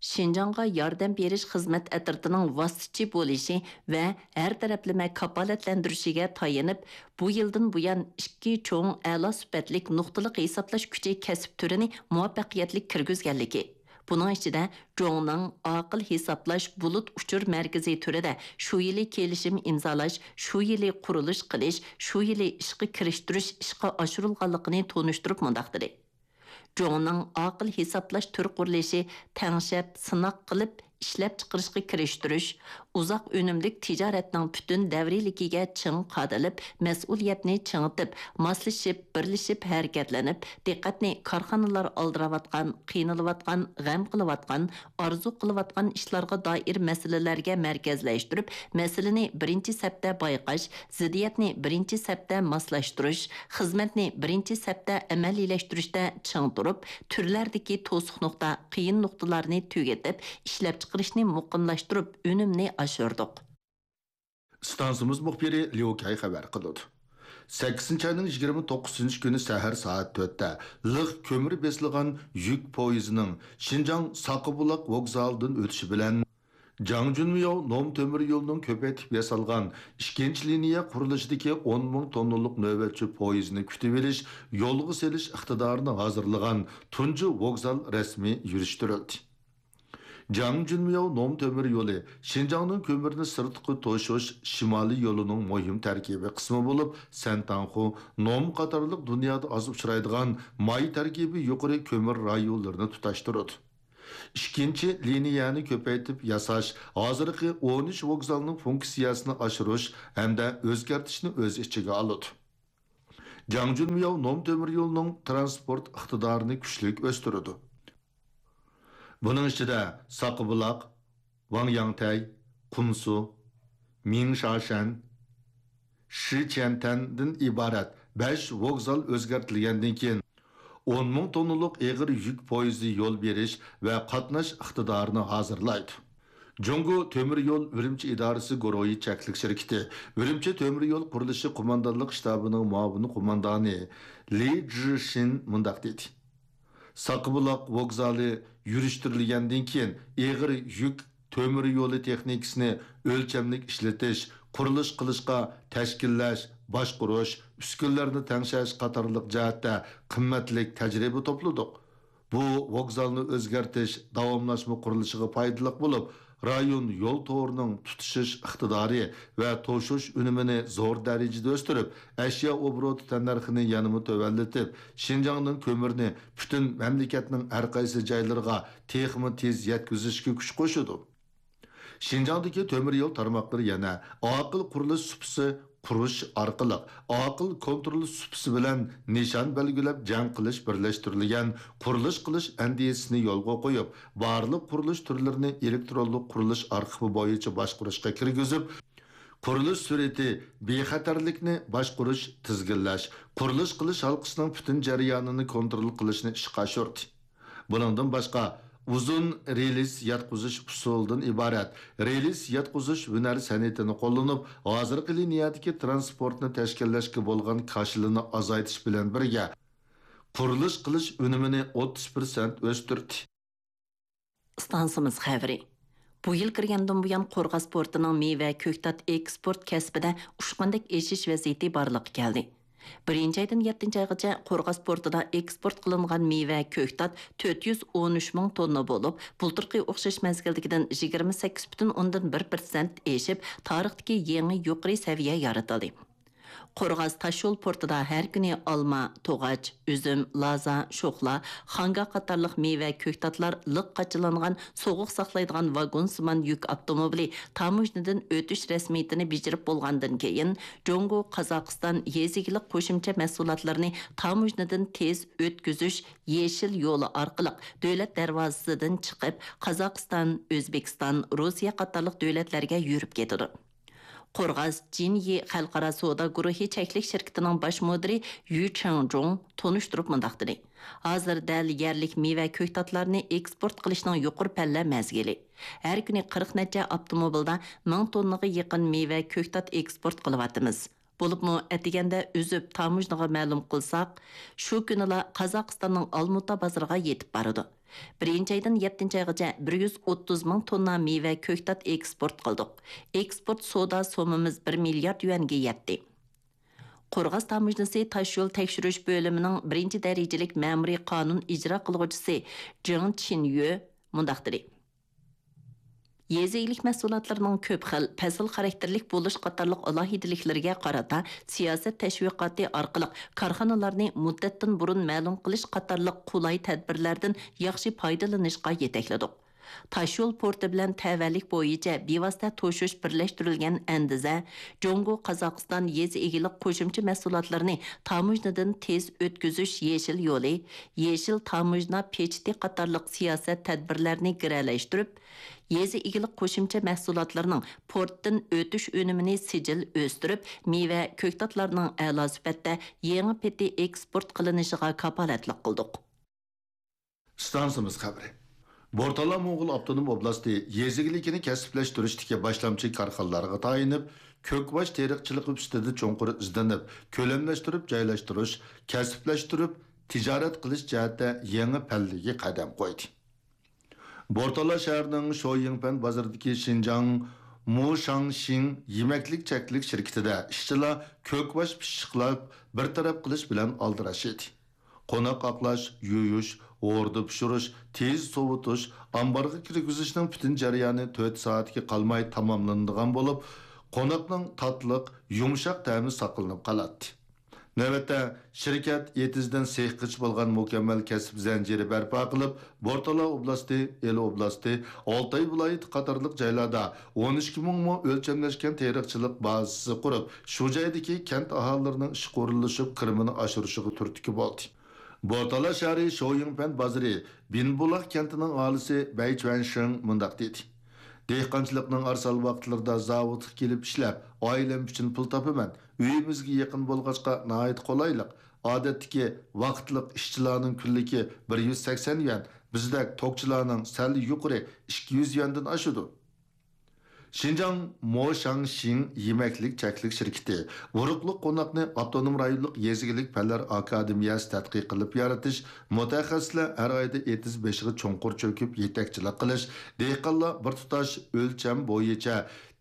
شىنجاڭغا ياردەم بېرىش خىزمەت ئەترىتىنىڭ ۋاسىتىچى بولۇشى ۋە ھەر تەرەپلىمە كاپالەتلەندۈرۈشىگە تايىنىپ، بۇ يىلدىن بۇيان ئىككى چوڭ ئەلا سۈپەتلىك نۇقتىلىق ھېسابلاش كۈچى كەسىپ تۈرىنى مۇۋەپپەقىيەتلىك كىرگۈزگەنلىكى، بۇنىڭ ئىچىدە جۇڭنىڭ ئاقىل ھېسابلاش بۇلۇت ئۇچۇر مەركىزى تۈرىدە شۇ يىلى كېلىشىم ئىمزالاش، شۇ يىلى قۇرۇلۇش قىلىش، شۇ يىلى ئىشقا كىرىشتۈرۈش ئىشقا ئاشۇرۇلغانلىقىنى تونۇشتۇرۇپ مۇنداق دېدى: جۇڭنىڭ ئاقىل ھېسابلاش تۈر قۇرۇلۇشى تەڭشەپ، سىناق قىلىپ، ئىشلەپچىقىرىشقا كىرىشتۈرۈش، ئۇزاق ئۈنۈملۈك تىجارەتنىڭ پۈتۈن دەۋرىيلىكىگە چىڭ قادىلىپ، مەسئۇلىيەتنى چىڭىتىپ، ماسلىشىپ، بىرلىشىپ ھەرىكەتلىنىپ، دىققەتنى كارخانىلار ئالدىراۋاتقان، قىينىلىۋاتقان، غەم قىلىۋاتقان، ئارزۇ قىلىۋاتقان ئىشلارغا دائىر مەسىلىلەرگە مەركەزلەشتۈرۈپ، مەسىلىنى بىرىنچى سەپتە بايقاش، زىددىيەتنى بىرىنچى سەپتە ماسلاشتۇرۇش، خىزمەتنى بىرىنچى سەپتە ئەمەلىيلەشتۈرۈشتە چىڭ تۇرۇپ، تۈرلەردىكى توسۇق نۇقتا، قىيىن نۇقتىلارنى تۈگىتىپ، ئىشلەپچىقىرىشنى مۇقىملاشتۇرۇپ، ئۈنۈمنى ئاشۇردۇق. ئىستانسىمىز مۇخبىرى ليۇ كەي خەۋەر قىلىدۇ. سەككىزىنچى ئاينىڭ يىگىرمە توققۇزىنچى كۈنى سەھەر سائەت تۆتتە لىق كۆمۈر بېسىلغان يۈك پويىزىنىڭ شىنجاڭ ساقىبۇلاق ۋوگزالىدىن ئۆتۈشى بىلەن، جاڭجۈنمياۋ نوم تۆمۈر يولىنىڭ كۆپەيتىپ ياسالغان ئىككىنچى لىنىيە قۇرۇلۇشىدىكى ئون مىڭ توننىلىق نۆۋەتچى پويىزنى كۈتۈۋېلىش، يولغا سېلىش ئىقتىدارىنى ھازىرلىغان تۇنجى ۋوگزال رەسمىي يۈرۈشتۈرۈلدى. جاڭجۈنمياۋ نوم تۆمۈر يولى شىنجاڭنىڭ كۆمۈرنى سىرتقا توشۇش شىمالىي يولىنىڭ مۇھىم تەركىبىي قىسمى بولۇپ، سەنتاڭخۇ، نوم قاتارلىق دۇنيادا ئاز ئۇچرايدىغان ماي تەركىبى يۇقىرى كۆمۈر رايونلىرىنى تۇتاشتۇرىدۇ. ئىككىنچى لىنىيەنى كۆپەيتىپ ياساش ھازىرقى ئون ئۈچ ۋوگزالنىڭ فۇنكسىيەسىنى ئاشۇرۇش ھەمدە ئۆزگەرتىشنى ئۆز ئىچىگە ئالىدۇ. جاڭجۈنمياۋ نوم تۆمۈر يولىنىڭ ترانسپورت ئىقتىدارىنى كۈچلۈك ئۆستۈرىدۇ. بۇنىڭ ئىچىدە ساقىبۇلاق، ۋاڭياڭتەي، قۇمسۇ، مىڭشاشەن، شىچيەنتەندىن ئىبارەت بەش ۋوگزال ئۆزگەرتىلگەندىن كېيىن، ئون مىڭ توننىلىق ئېغىر يۈك پويىزى يول بېرىش ۋە قاتناش ئىقتىدارىنى ھازىرلايدۇ. جۇڭگو تۆمۈر يول ئۈرۈمچى ئىدارىسى گۇرۇھى چەكلىك شىركىتى ئۈرۈمچى تۆمۈر يول قۇرۇلۇشى قوماندانلىق شتابىنىڭ مۇئاۋىن قوماندانى لى جىشىن مۇنداق دېدى: ساقىبۇلاق ۋوگزالى يۈرۈشتۈرۈلگەندىن كېيىن، ئېغىر يۈك تۆمۈر يولى تېخنىكىسىنى ئۆلچەملىك ئىشلىتىش، قۇرۇلۇش قىلىشقا تەشكىللەش، باشقۇرۇش، ئۈسكۈنىلەرنى تەڭشەش قاتارلىق جەھەتتە قىممەتلىك تەجرىبە توپلىدۇق. بۇ ۋوگزالنى ئۆزگەرتىش داۋاملاشما قۇرۇلۇشىغا پايدىلىق بولۇپ، رايون يول تورىنىڭ تۇتىشىش ئىقتىدارى ۋە توشۇش ئۈنۈمىنى زور دەرىجىدە ئۆستۈرۈپ، ئەشيا ئوبوروتى تەننەرخىنى يەنىمۇ تۆۋەنلىتىپ، شىنجاڭنىڭ كۆمۈرىنى پۈتۈن مەملىكەتنىڭ ھەر قايسى جايلىرىغا تېخىمۇ تېز يەتكۈزۈشكە كۈچ قوشىدۇ. شىنجاڭدىكى تۆمۈر يول تارماقلىرى يەنە ئاقىل قۇرۇلۇش سۇپىسى قۇرۇش ئارقىلىق، ئاقىل كونترول سۇپىسى بىلەن نىشان بەلگىلەپ جەڭ قىلىش بىرلەشتۈرۈلگەن قۇرۇلۇش قىلىش ئەندىزىسىنى يولغا قويۇپ، بارلىق قۇرۇلۇش تۈرلىرىنى ئېلېكترونلۇق قۇرۇلۇش ئارخىپى بويىچە باشقۇرۇشقا كىرگۈزۈپ، قۇرۇلۇش سۈرئىتى، بىخەتەرلىكنى باشقۇرۇش، تىزگىنلەش، قۇرۇلۇش قىلىش ھالقىسىنىڭ پۈتۈن جەريانىنى كونترول قىلىشنى ئىشقا ئاشۇردى. بۇنىڭدىن باشقا، ئۇزۇن رېلىس ياتقۇزۇش ئۇسۇلىدىن ئىبارەت رېلىس ياتقۇزۇش ھۈنەر سەنئىتىنى قوللىنىپ، ھازىرقى لىنىيەدىكى ترانسپورتنى تەشكىللەشكە بولغان كاشىلىنى ئازايتىش بىلەن بىرگە، قۇرۇلۇش قىلىش ئۈنۈمىنى ئوتتۇز پىرسەنت ئۆستۈردى. ئىستانسىمىز خەۋىرى. بۇ يىل كىرگەندىن بۇيان، قورغاس پورتىنىڭ مېۋە، كۆكتات ئېكسپورت كەسپىدە ئۇچقاندەك ئېشىش ۋەزىيىتى بارلىققا كەلدى. بىرىنچى ئايدىن يەتتىنچى ئايغىچە قورغاس پورتىدا ئېكسپورت قىلىنغان مېۋە، كۆكتات تۆت يۈز ئون ئۈچ مىڭ توننا بولۇپ، بۇلتۇرقى ئوخشاش مەزگىلدىكىدىن يىگىرمە سەككىز پۈتۈن ئوندىن بىر پىرسەنت ئېشىپ، تارىختىكى يېڭى يۇقىرى سەۋىيە يارىتىلدى. قورغاس تاشيول پورتىدا ھەر كۈنى ئالما، توغاچ، ئۈزۈم، لازا، شوخلا، خاڭگا قاتارلىق مېۋە، كۆكتاتلار لىق قاچىلانغان سوغۇق ساقلايدىغان ۋاگونسىمان يۈك ئاپتوموبىلى تاموژنىدىن ئۆتۈش رەسمىيىتىنى بېجىرىپ بولغاندىن كېيىن، جۇڭگو، قازاقىستان يېزا ئىگىلىك قوشۇمچە مەھسۇلاتلىرىنى تاموژنىدىن تېز ئۆتكۈزۈش يېشىل يولى ئارقىلىق دۆلەت دەرۋازىسىدىن چىقىپ، قازاقىستان، ئۆزبېكىستان، روسىيە قاتارلىق دۆلەتلەرگە يۈرۈپ كېتىدۇ. قورغاس جىنيى خەلقئارا سودا گۇرۇھى چەكلىك شىركىتىنىڭ باش مۇدىرى يۈ چېڭجۇڭ تونۇشتۇرۇپ مۇنداق دېدى: ھازىر دەل يەرلىك مېۋە، كۆكتاتلارنى ئېكسپورت قىلىشنىڭ يۇقىرى پەللە مەزگىلى. ھەر كۈنى قىرىق نەچچە ئاپتوموبىلدا مىڭ توننىغا يېقىن مېۋە، كۆكتات ئېكسپورت قىلىۋاتىمىز. بولۇپمۇ ئەتىگەندە ئۈزۈپ تاموژنىغا مەلۇم قىلساق، شۇ كۈنىلا قازاقىستاننىڭ ئالمۇتا بازىرىغا يېتىپ بارىدۇ. بىرىنچى ئايدىن يەتتىنچى ئايغىچە بىر يۈز ئوتتۇز مىڭ توننا مېۋە، كۆكتات ئېكسپورت قىلدۇق. ئېكسپورت سودا سوممىمىز بىر مىليارد يۈەنگە يەتتى. قورغاس تاموژنىسى تاشيول تەكشۈرۈش بۆلۈمىنىڭ بىرىنچى دەرىجىلىك مەمۇرىي قانۇن ئىجرا قىلغۇچىسى جېڭ چىنيۆ مۇنداق دېدى: يېزا ئىگىلىك مەھسۇلاتلىرىنىڭ كۆپ خىل، پەسىل خاراكتېرلىك بولۇش قاتارلىق ئالاھىدىلىكلىرىگە قارىتا، سىياسەت تەشۋىقاتى ئارقىلىق كارخانىلارنى مۇددەتتىن بۇرۇن مەلۇم قىلىش قاتارلىق قولاي تەدبىرلەردىن ياخشى پايدىلىنىشقا يېتەكلىدۇق. تاشيول پورتى بىلەن تەۋەلىك بويىچە بىۋاسىتە توشۇش بىرلەشتۈرۈلگەن ئەندىزە، جۇڭگو، قازاقىستان يېزا ئىگىلىك قوشۇمچە مەھسۇلاتلىرىنى تاموژنىدىن تېز ئۆتكۈزۈش يېشىل يولى، يېشىل تاموژنا پېچىتى قاتارلىق سىياسەت تەدبىرلەرنى گىرەلەشتۈرۈپ، يېزا ئىگىلىك قوشۇمچە مەھسۇلاتلىرىنىڭ پورتتىن ئۆتۈش ئۈنۈمىنى سىجىل ئۆستۈرۈپ، مېۋە، كۆكتاتلارنىڭ ئەلا سۈپەتتە يېڭى پېتى ئېكسپورت قىلىنىشىغا كاپالەتلىك قىلدۇق. ئىستانسىمىز خەۋىرى. بورتالا موڭغۇل ئاپتونوم ئوبلاستى يېزا ئىگىلىكىنى كەسىپلەشتۈرۈشتىكى باشلامچى كارخانىلارغا تايىنىپ، كۆكباش تېرىقچىلىقى ئۈستىدە چوڭقۇر ئىزدىنىپ، كۆلەملەشتۈرۈپ جايلاشتۇرۇش، كەسىپلەشتۈرۈپ تىجارەت قىلىش جەھەتتە يېڭى پەللىگە قەدەم قويدى. بورتالا شەھىرىنىڭ شويىڭپەن بازىرىدىكى شىنجاڭ مۇشاڭشىڭ يېمەكلىك چەكلىك شىركىتىدە ئىشچىلار كۆكباش پىششىقلاپ بىر تەرەپ قىلىش بىلەن ئالدىراش ئىدى. قوناق ئاقلاش، يۇيۇش، ھوردا پىشۇرۇش، تېز سوۋۇتۇش، ئامبارغا كىرگۈزۈشنىڭ پۈتۈن جەريانى تۆت سائەتكە قالماي تاماملىنىدىغان بولۇپ، قوناقنىڭ تاتلىق، يۇمشاق تەمى ساقلىنىپ قالاتتى. نۆۋەتتە، شىركەت ئېتىزدىن سېخقىچە بولغان مۇكەممەل كەسىپ زەنجىرى بەرپا قىلىپ، بورتالا ئوبلاستى، ئىلى ئوبلاستى، ئالتاي ۋىلايىتى قاتارلىق جايلاردا ئون ئىككى مىڭ مو ئۆلچەملەشكەن تېرىقچىلىق بازىسى قۇرۇپ، شۇ جايدىكى كەنت ئاھالىلىرىنىڭ ئىشقا ئورۇنلىشىپ، كىرىمىنى ئاشۇرۇشىغا تۈرتكە بولدى. بورتالا شەھىرى شويىڭپەن بازىرى بىنبۇلاق كەنتىنىڭ ئاھالىسى بەي چۈەنشىڭ مۇنداق دېدى: دېھقانچىلىقنىڭ ئارىسال ۋاقىتلىرىدا زاۋۇتقا كېلىپ ئىشلەپ، ئائىلەم ئۈچۈن پۇل تاپىمەن. ئۆيىمىزگە يېقىن بولغاچقا ناھايىتى قولايلىق. ئادەتتىكى ۋاقىتلىق ئىشچىلارنىڭ كۈنلۈكى بىر يۈز سەكسەن يۈەن، بىزدەك توكچىلارنىڭ سەل يۇقىرى ئىككى يۈز يۈەندىن ئاشىدۇ. شىنجاڭ موشاڭشىڭ يېمەكلىك چەكلىك شىركىتى ئۇرۇقلۇق قوناقنى ئاپتونوم رايونلۇق يېزا ئىگىلىك پەنلەر ئاكادېمىيەسى تەتقىق قىلىپ يارىتىش، مۇتەخەسسىسلەر ھەر ئايدا ئېتىز بېشىغا چوڭقۇر چۆكۈپ يېتەكچىلىك قىلىش، دېھقانلار بىر تۇتاش ئۆلچەم بويىچە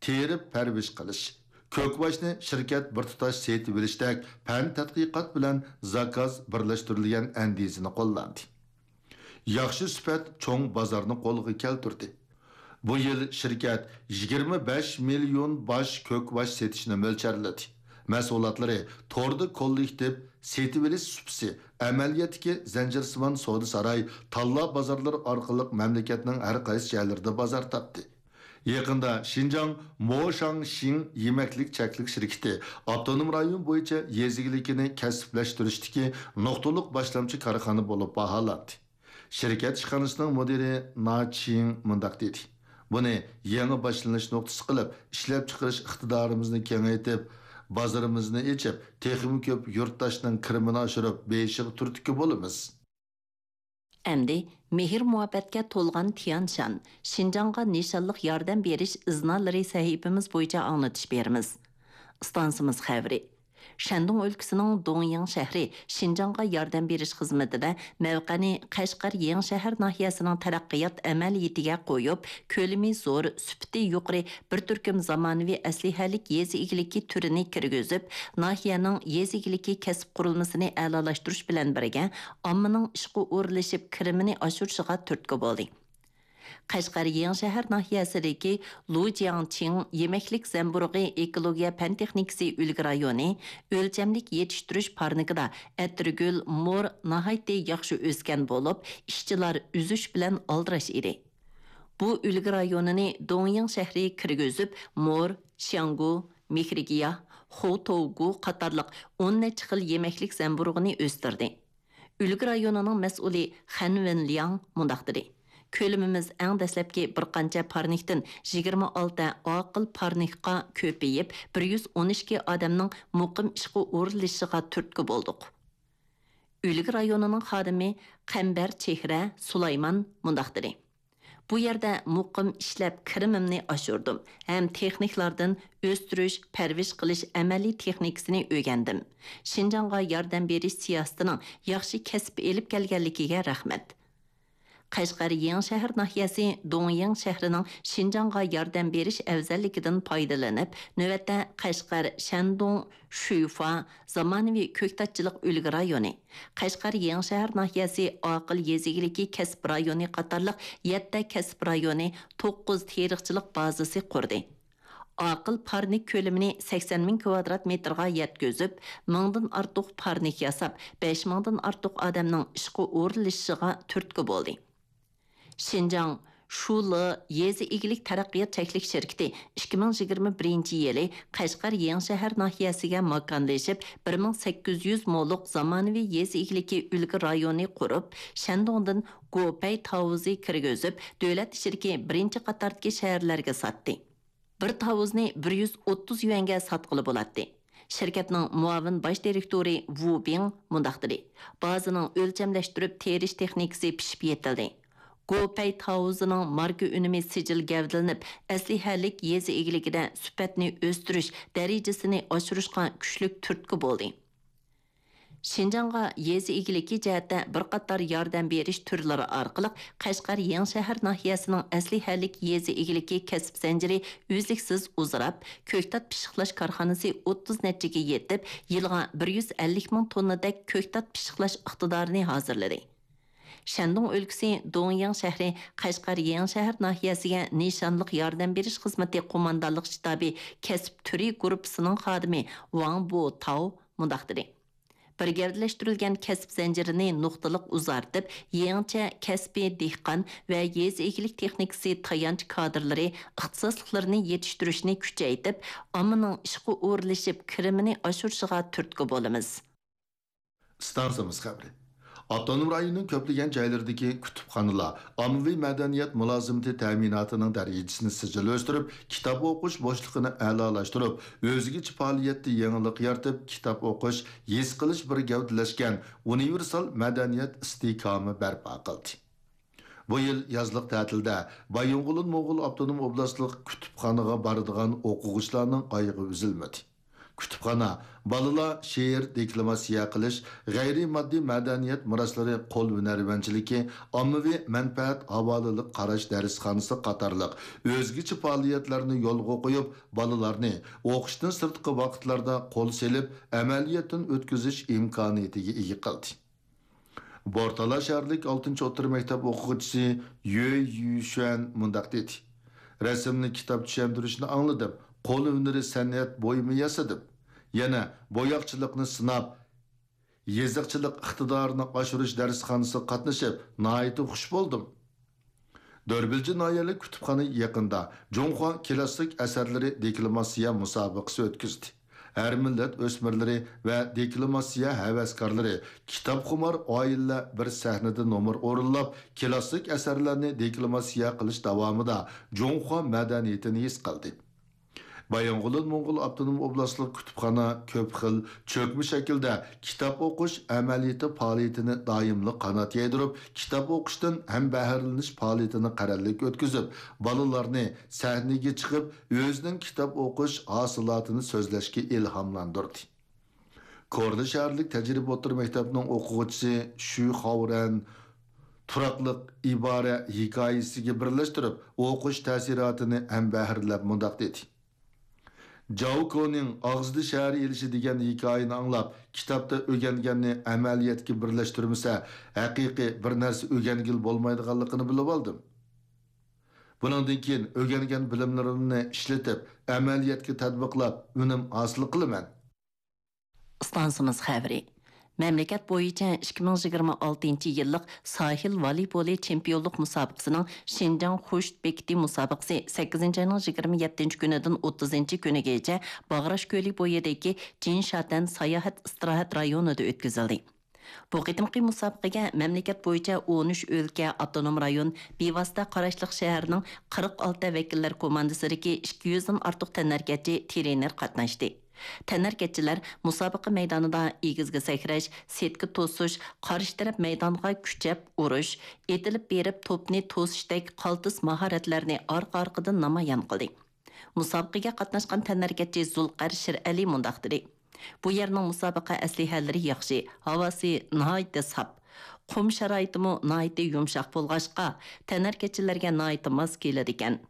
تېرىپ پەرۋىش قىلىش، كۆكۋاچنى شىركەت بىر تۇتاش سېتىۋېلىشتەك پەن تەتقىقات بىلەن زاكاز بىرلەشتۈرۈلگەن ئەندىزىنى قوللاندى. ياخشى سۈپەت چوڭ بازارنى قولغا كەلتۈردى. بۇ يىل شىركەت يىگىرمە بەش مىليون باش كۆكۋاچ سېتىشنى مۆلچەرلىدى. مەھسۇلاتلىرى توردا كوللېكتىپ سېتىۋېلىش سۇپىسى، ئەمەلىيەتتىكى زەنجىرسىمان سودا ساراي، تاللا بازارلىرى ئارقىلىق مەملىكەتنىڭ ھەر قايسى جايلىرىدا بازار تاپتى. يېقىندا شىنجاڭ موشاڭشىڭ يېمەكلىك چەكلىك شىركىتى ئاپتونوم رايون بويىچە يېزا ئىگىلىكىنى كەسىپلەشتۈرۈشتىكى نۇقتىلىق باشلامچى كارخانا بولۇپ باھالاندى. شىركەت ئىشخانىسىنىڭ مۇدىرى نا چىڭ مۇنداق دېدى: بۇنى يېڭى باشلىنىش نۇقتىسى قىلىپ، ئىشلەپچىقىرىش ئىقتىدارىمىزنى كېڭەيتىپ، بازىرىمىزنى ئېچىپ، تېخىمۇ كۆپ يۇرتداشنىڭ كىرىمىنى ئاشۇرۇپ بېيىشىغا تۈرتكە بولىمىز. ئەمدى مېھىر-مۇھەببەتكە تولغان تيەنشان، شىنجاڭغا نىشانلىق ياردەم بېرىش ئىزنالىرى سەھىپىمىز بويىچە ئاڭلىتىش بېرىمىز. ئىستانسىمىز خەۋىرى. شەندۇڭ ئۆلكىسىنىڭ دۇڭيىڭ شەھىرى شىنجاڭغا ياردەم بېرىش خىزمىتىدە مەۋقەنى قەشقەر يېڭىشەھەر ناھىيەسىنىڭ تەرەققىيات ئەمەلىيىتىگە قويۇپ، كۆلىمى زور، سۈپىتى يۇقىرى بىر تۈركۈم زامانىۋى ئەسلىھەلىك يېزا ئىگىلىكى تۈرىنى كىرگۈزۈپ، ناھىيەنىڭ يېزا ئىگىلىكى كەسىپ قۇرۇلمىسىنى ئەلالاشتۇرۇش بىلەن بىرگە، ئاممىنىڭ ئىشقا ئورۇنلىشىپ، كىرىمىنى ئاشۇرۇشىغا تۈرتكە بولدى. قەشقەر يېڭىشەھەر ناھىيەسىدىكى لۇ جياڭچىڭ يېمەكلىك زەمبۇرۇغى ئېكولوگىيە پەن تېخنىكىسى ئۈلگە رايونى ئۆلچەملىك يېتىشتۈرۈش پارنىكىدا ئەتىرگۈل، مور ناھايىتى ياخشى ئۆسكەن بولۇپ، ئىشچىلار ئۈزۈش بىلەن ئالدىراش ئىدى. بۇ ئۈلگە رايونىنى دۇڭيىڭ شەھىرى كىرگۈزۈپ، مور، شياڭگۇ، مېھرىگىياھ، خوتوۋگۇ قاتارلىق ئون نەچچە خىل يېمەكلىك زەمبۇرۇغىنى ئۆستۈردى. ئۈلگە رايونىنىڭ مەسئۇلى خەن ۋېنلياڭ مۇنداق دېدى: كۆلىمىمىز ئەڭ دەسلەپكى بىر قانچە پارنىكتىن يىگىرمە ئالتە ئاقىل پارنىكقا كۆپىيىپ، بىر يۈز ئون ئىككى ئادەمنىڭ مۇقىم ئىشقا ئورۇنلىشىشىغا تۈرتكە بولدۇق. ئۈلگە رايونىنىڭ خادىمى قەمبەر چېھرە سۇلايمان مۇنداق دېدى: بۇ يەردە مۇقىم ئىشلەپ كىرىمىمنى ئاشۇردۇم ھەم تېخنىكلاردىن ئۆستۈرۈش، پەرۋىش قىلىش ئەمەلىي تېخنىكىسىنى ئۆگەندىم. شىنجاڭغا ياردەم بېرىش سىياسىتىنىڭ ياخشى كەسىپ ئېلىپ كەلگەنلىكىگە رەھمەت. قەشقەر يېڭىشەھەر ناھىيەسى دۇڭيىڭ شەھىرىنىڭ شىنجاڭغا ياردەم بېرىش ئەۋزەللىكىدىن پايدىلىنىپ، نۆۋەتتە قەشقەر، شەندۇڭ، شۈيفا، زامانىۋى كۆكتاتچىلىق ئۈلگە رايونى، قەشقەر يېڭىشەھەر ناھىيەسى ئاقىل يېزا ئىگىلىكى كەسىپ رايونى قاتارلىق يەتتە كەسىپ رايونى، توققۇز تېرىقچىلىق بازىسى قۇردى. ئاقىل پارنىك كۆلىمىنى سەكسەن مىڭ كۋادرات مېتىرغا يەتكۈزۈپ، مىڭدىن ئارتۇق پارنىك ياساپ، بەش مىڭدىن ئارتۇق ئادەمنىڭ ئىشقا ئورۇنلىشىشىغا تۈرتكە بولدى. شىنجاڭ شۇلې يېزا ئىگىلىك تەرەققىيات چەكلىك شىركىتى ئىككى مىڭ يىگىرمە بىرىنچى يىلى قەشقەر يېڭىشەھەر ناھىيەسىگە ماكانلىشىپ، بىر مىڭ سەككىز يۈز مولۇق زامانىۋى يېزا ئىگىلىكى ئۈلگە رايونى قۇرۇپ، شەندۇڭدىن گوپەي تاۋۇزى كىرگۈزۈپ، دۆلەت ئىچىدىكى بىرىنچى قاتاردىكى شەھەرلەرگە ساتتى. بىر تاۋۇزنى بىر يۈز ئوتتۇز يۈەنگە ساتقىلى بولاتتى. شىركەتنىڭ مۇئاۋىن باش دىرېكتورى ۋۇ بىڭ مۇنداق دېدى: بازىنىڭ ئۆلچەملەشتۈرۈپ تېرىش تېخنىكىسى پىشىپ يېتىلدى. گوپەي تاۋۇزىنىڭ ماركا ئۈنۈمى سىجىل گەۋدىلىنىپ، ئەسلىھەلىك يېزا ئىگىلىكىدە سۈپەتنى ئۆستۈرۈش دەرىجىسىنى ئاشۇرۇشقا كۈچلۈك تۈرتكە بولدى. شىنجاڭغا يېزا ئىگىلىكى جەھەتتە بىر قاتار ياردەم بېرىش تۈرلىرى ئارقىلىق قەشقەر يېڭىشەھەر ناھىيەسىنىڭ ئەسلىھەلىك يېزا ئىگىلىكى كەسىپ زەنجىرى ئۈزلۈكسىز ئۇزىراپ، كۆكتات پىششىقلاش كارخانىسى ئوتتۇز نەچچىگە يېتىپ، يىلىغا بىر يۈز ئەللىك مىڭ توننىدەك كۆكتات پىششىقلاش ئىقتىدارىنى ھازىرلىدى. شەندۇڭ ئۆلكىسى دۇڭيىڭ شەھىرى قەشقەر يېڭىشەھەر ناھىيەسىگە نىشانلىق ياردەم بېرىش خىزمىتى قوماندانلىق شتابى كەسىپ تۈرى گۇرۇپپىسىنىڭ خادىمى ۋاڭ بوتاۋ مۇنداق دېدى: بىر گەۋدىلەشتۈرۈلگەن كەسىپ زەنجىرىنى نۇقتىلىق ئۇزارتىپ، يېڭىچە كەسپىي دېھقان ۋە يېزا ئىگىلىك تېخنىكىسى تايانچ كادىرلىرى ئىختىساسلىقلىرىنى يېتىشتۈرۈشنى كۈچەيتىپ، ئاممىنىڭ ئىشقا ئورۇنلىشىپ، كىرىمىنى ئاشۇرۇشىغا تۈرتكە بولىمىز. ئىستانسىمىز خەۋىرى. ئاپتونوم رايوننىڭ كۆپلىگەن جايلىرىدىكى كۇتۇپخانىلار ئاممىۋى مەدەنىيەت مۇلازىمىتى تەمىناتىنىڭ دەرىجىسىنى سىجىل ئۆستۈرۈپ، كىتاب ئوقۇش بوشلۇقىنى ئەلالاشتۇرۇپ، ئۆزگىچە پائالىيەتتە يېڭىلىق يارىتىپ، كىتاب ئوقۇش، ھېس قىلىش بىر گەۋدىلەشكەن ئۇنىۋېرسال مەدەنىيەت ئىستىھكامى بەرپا قىلدى. بۇ يىل يازلىق تەتىلدە بايىنغولىن موڭغۇل ئاپتونوم ئوبلاستلىق كۇتۇپخانىغا بارىدىغان ئوقۇغۇچىلارنىڭ ئايىغى ئۈزۈلمىدى. كۇتۇپخانا بالىلار شېئىر دېكلاماتسىيە قىلىش، غەيرىي ماددىي مەدەنىيەت مىراسلىرى، قول ھۈنەرۋەنچىلىكى، ئاممىۋى مەنپەئەت ھاۋالىلىق قاراش دەرسخانىسى قاتارلىق ئۆزگىچە پائالىيەتلەرنى يولغا قويۇپ، بالىلارنى ئوقۇشتىن سىرتقى ۋاقىتلاردا قول سېلىپ، ئەمەلىيەتتىن ئۆتكۈزۈش ئىمكانىيىتىگە ئىگە قىلدى. بورتالا شەھەرلىك ئالتىنچى ئوتتۇرا مەكتەپ ئوقۇغۇچىسى يۆ يۈشۈەن مۇنداق دېدى: رەسىمنى كىتاب چۈشەندۈرۈشنى ئاڭلىدىم، قول ھۈنىرى سەنئەت بۇيۇمى ياسىدىم. يەنە بوياقچىلىقنى سىناپ، يېزىقچىلىق ئىقتىدارىنى ئاشۇرۇش دەرسخانىسىغا قاتنىشىپ، ناھايىتى خۇش بولدۇم. دۆربىلجى ناھىيەلىك كۇتۇپخانا يېقىندا جۇڭخۇا كىلاسسىك ئەسەرلىرى دېكلاماتسىيە مۇسابىقىسى ئۆتكۈزدى. ھەر مىللەت ئۆسمۈرلىرى ۋە دېكلاماتسىيە ھەۋەسكارلىرى، كىتابخۇمار ئائىلىلەر بىر سەھنىدە نومۇر ئورۇنلاپ، كىلاسسىك ئەسەرلەرنى دېكلاماتسىيە قىلىش داۋامىدا جۇڭخۇا مەدەنىيىتىنى ھېس قىلدى. بايىنغولىن موڭغۇل ئاپتونوم ئوبلاستلىق كۇتۇپخانا كۆپ خىل چۆكمە شەكىلدە كىتاب ئوقۇش ئەمەلىيىتى پائالىيىتىنى دائىملىق قانات يايدۇرۇپ، كىتاب ئوقۇشتىن ھەم بەھرىلىنىش پائالىيىتىنى قەرەللىك ئۆتكۈزۈپ، بالىلارنى سەھنىگە چىقىپ، ئۆزىنىڭ كىتاب ئوقۇش ھاسىلاتىنى سۆزلەشكە ئىلھاملاندۇردى. كورلا شەھەرلىك تەجرىبە ئوتتۇرا مەكتەپنىڭ ئوقۇغۇچىسى شۈ خاۋرەن تۇراقلىق ئىبارە ھېكايىسىگە بىرلەشتۈرۈپ، ئوقۇش تەسىراتىنى ھەم بەھرىلەپ مۇنداق دېدى: جاۋ كونىڭ ئاغزىدا شەھەر ئېلىشى دېگەن ھېكايىنى ئاڭلاپ، كىتابتا ئۆگەنگەننى ئەمەلىيەتكە بىرلەشتۈرمىسە، ھەقىقىي بىر نەرسە ئۆگەنگىلى بولمايدىغانلىقىنى بىلىۋالدىم. بۇنىڭدىن كېيىن ئۆگەنگەن بىلىملىرىمنى ئىشلىتىپ، ئەمەلىيەتكە تەتبىقلاپ، ئۈنۈم ھاسىل قىلىمەن. ئىستانسىمىز خەۋىرى. مەملىكەت بويىچە ئىككى مىڭ يىگىرمە ئالتىنچى يىللىق ساھىل ۋالىبولى چېمپىيونلۇق مۇسابىقىسىنىڭ شىنجاڭ خۇشت بېكىتى مۇسابىقىسى سەككىزىنچى ئاينىڭ يىگىرمە يەتتىنچى كۈنىدىن ئوتتۇزىنچى كۈنىگىچە باغراش كۆلى بويىدىكى جىنشاتەن ساياھەت ئىستىراھەت رايونىدا ئۆتكۈزۈلدى. بۇ قېتىمقى مۇسابىقىگە مەملىكەت بويىچە ئون ئۈچ ئۆلكە، ئاپتونوم رايون، بىۋاسىتە قاراشلىق شەھەرنىڭ قىرىق ئالتە ۋەكىللەر كوماندىسىدىكى ئىككى يۈزدىن ئارتۇق تەنھەرىكەتچى، ترېنېر قاتناشتى. تەنھەرىكەتچىلەر مۇسابىقە مەيدانىدا ئېگىزگە سەكرەش، سېتكا توسۇش، قارشى تەرەپ مەيدانغا كۈچەپ ئۇرۇش، ئېتىلىپ بېرىپ توپنى توسۇشتەك قالتىس ماھارەتلەرنى ئارقا-ئارقىدىن نامايان قىلدى. مۇسابىقىگە قاتناشقان تەنھەرىكەتچى زۇلقەر شىرئەلى مۇنداق دېدى: بۇ يەرنىڭ مۇسابىقە ئەسلىھەلىرى ياخشى، ھاۋاسى ناھايىتى ساپ. قۇم شارائىتىمۇ ناھايىتى يۇمشاق بولغاچقا، تەنھەرىكەتچىلەرگە ناھايىتى ماس كېلىدىكەن.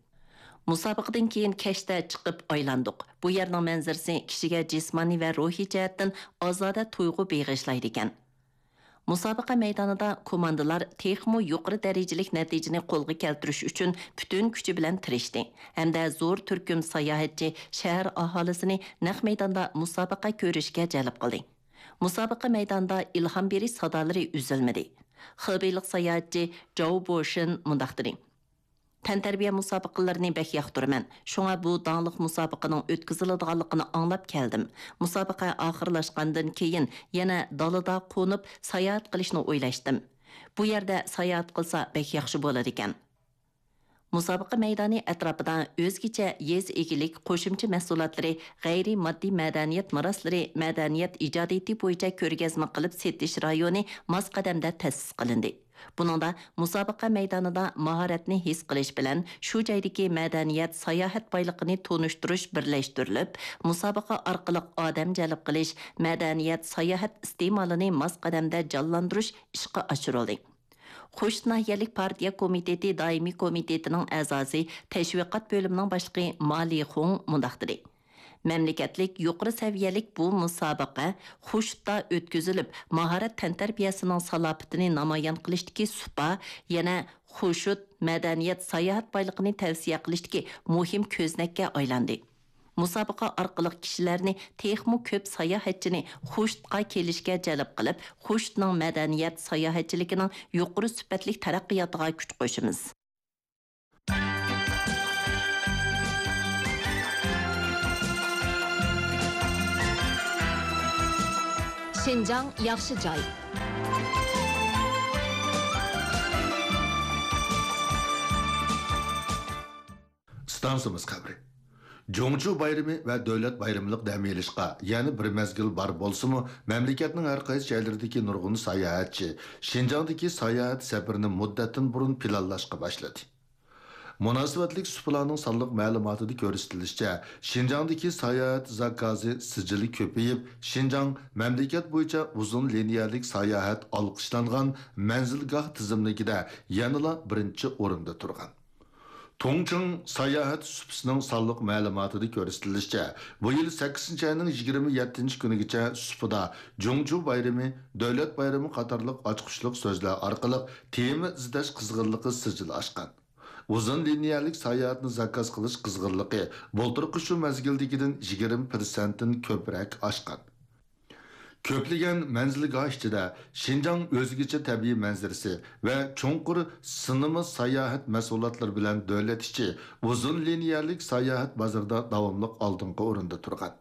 مۇسابىقىدىن كېيىن كەچتە چىقىپ ئايلاندۇق. بۇ يەرنىڭ مەنزىرىسى كىشىگە جىسمانىي ۋە روھىي جەھەتتىن ئازادە تۇيغۇ بېغىشلايدىكەن. مۇسابىقە مەيدانىدا كوماندىلار تېخىمۇ يۇقىرى دەرىجىلىك نەتىجىنى قولغا كەلتۈرۈش ئۈچۈن پۈتۈن كۈچى بىلەن تىرىشتى ھەمدە زور تۈركۈم ساياھەتچى، شەھەر ئاھالىسىنى نەق مەيداندا مۇسابىقە كۆرۈشكە جەلپ قىلدى. مۇسابىقە مەيدانىدا ئىلھام بېرىش سادالىرى ئۈزۈلمىدى. خېبېيلىق ساياھەتچى جاۋ بوشىن مۇنداق دېدى: تەنتەربىيە مۇسابىقىلىرىنى بەك ياقتۇرىمەن، شۇڭا بۇ داڭلىق مۇسابىقىنىڭ ئۆتكۈزۈلىدىغانلىقىنى ئاڭلاپ كەلدىم. مۇسابىقە ئاخىرلاشقاندىن كېيىن يەنە دالىدا قونۇپ ساياھەت قىلىشنى ئويلاشتىم. بۇ يەردە ساياھەت قىلسا بەك ياخشى بولىدىكەن. مۇسابىقە مەيدانى ئەتراپىدا ئۆزگىچە يېزا ئىگىلىك قوشۇمچە مەھسۇلاتلىرى، غەيرىي ماددىي مەدەنىيەت مىراسلىرى، مەدەنىيەت ئىجادىيىتى بويىچە كۆرگەزمە قىلىپ سېتىش رايونى ماس قەدەمدە تەسىس قىلىندى. بۇنىڭدا مۇسابىقە مەيدانىدا ماھارەتنى ھېس قىلىش بىلەن شۇ جايدىكى مەدەنىيەت، ساياھەت بايلىقىنى تونۇشتۇرۇش بىرلەشتۈرۈلۈپ، مۇسابىقە ئارقىلىق ئادەم جەلپ قىلىش، مەدەنىيەت، ساياھەت ئىستېمالىنى ماس قەدەمدە جانلاندۇرۇش ئىشقا ئاشۇرۇلدى. خوشۇت ناھىيەلىك پارتىيە كومىتېتى دائىمىي كومىتېتىنىڭ ئەزاسى، تەشۋىقات بۆلۈمىنىڭ باشلىقى ما لىخۇڭ مۇنداق دېدى: مەملىكەتلىك يۇقىرى سەۋىيەلىك بۇ مۇسابىقە خوشۇتتا ئۆتكۈزۈلۈپ، ماھارەت تەنتەربىيەسىنىڭ سالاپىتىنى نامايان قىلىشتىكى سۇپا، يەنە خوشۇت مەدەنىيەت ساياھەت بايلىقىنى تەۋسىيە قىلىشتىكى مۇھىم كۆزنەككە ئايلاندى. مۇسابىقە ئارقىلىق كىشىلەرنى تېخىمۇ كۆپ ساياھەتچىنى خوشۇتقا كېلىشكە جەلپ قىلىپ، خوشۇتنىڭ مەدەنىيەت ساياھەتچىلىكىنىڭ يۇقىرى سۈپەتلىك تەرەققىياتىغا كۈچ قوشىمىز. شىنجاڭ ياخشى جاي. ئىستانسىمىز خەۋىرى. جۇڭچۇ بايرىمى ۋە دۆلەت بايرىملىق دەم ئېلىشقا يەنە بىر مەزگىل بار بولسىمۇ، مەملىكەتنىڭ ھەر قايسى جايلىرىدىكى نۇرغۇن ساياھەتچى شىنجاڭدىكى ساياھەت سەپىرىنى مۇددەتتىن بۇرۇن پىلانلاشقا باشلىدى. مۇناسىۋەتلىك سۇپىلارنىڭ سانلىق مەلۇماتىدا كۆرسىتىلىشىچە، شىنجاڭدىكى ساياھەت زاكازى سىجىلى كۆپىيىپ، شىنجاڭ مەملىكەت بويىچە ئۇزۇن لىنىيەلىك ساياھەت ئالقىشلانغان مەنزىلگاھ تىزىملىكىدە يەنىلا بىرىنچى ئورۇندا تۇرغان. تۇڭچىڭ ساياھەت سۇپىسىنىڭ سانلىق مەلۇماتىدا كۆرسىتىلىشىچە، بۇ يىل سەككىزىنچى ئاينىڭ يىگىرمە يەتتىنچى كۈنىگىچە سۇپىدا جۇڭجۇ بايرىمى، دۆلەت بايرىمى قاتارلىق ئاچقۇچلۇق سۆزلەر ئارقىلىق تېما ئىزدەش قىزغىنلىقى سىجىل ئاشقان. ئۇزۇن لىنىيەلىك ساياھەتنى زاكاز قىلىش قىزغىنلىقى بۇلتۇرقى شۇ مەزگىلدىكىدىن يىگىرمە پىرسەنتتىن كۆپرەك ئاشقان. كۆپلىگەن مەنزىلگاھ ئىچىدە شىنجاڭ ئۆزگىچە تەبىئىي مەنزىرىسى ۋە چوڭقۇر سىنىما ساياھەت مەھسۇلاتلىرى بىلەن دۆلەت ئىچى ئۇزۇن لىنىيەلىك ساياھەت بازىرىدا داۋاملىق ئالدىنقى ئورۇندا تۇرغان.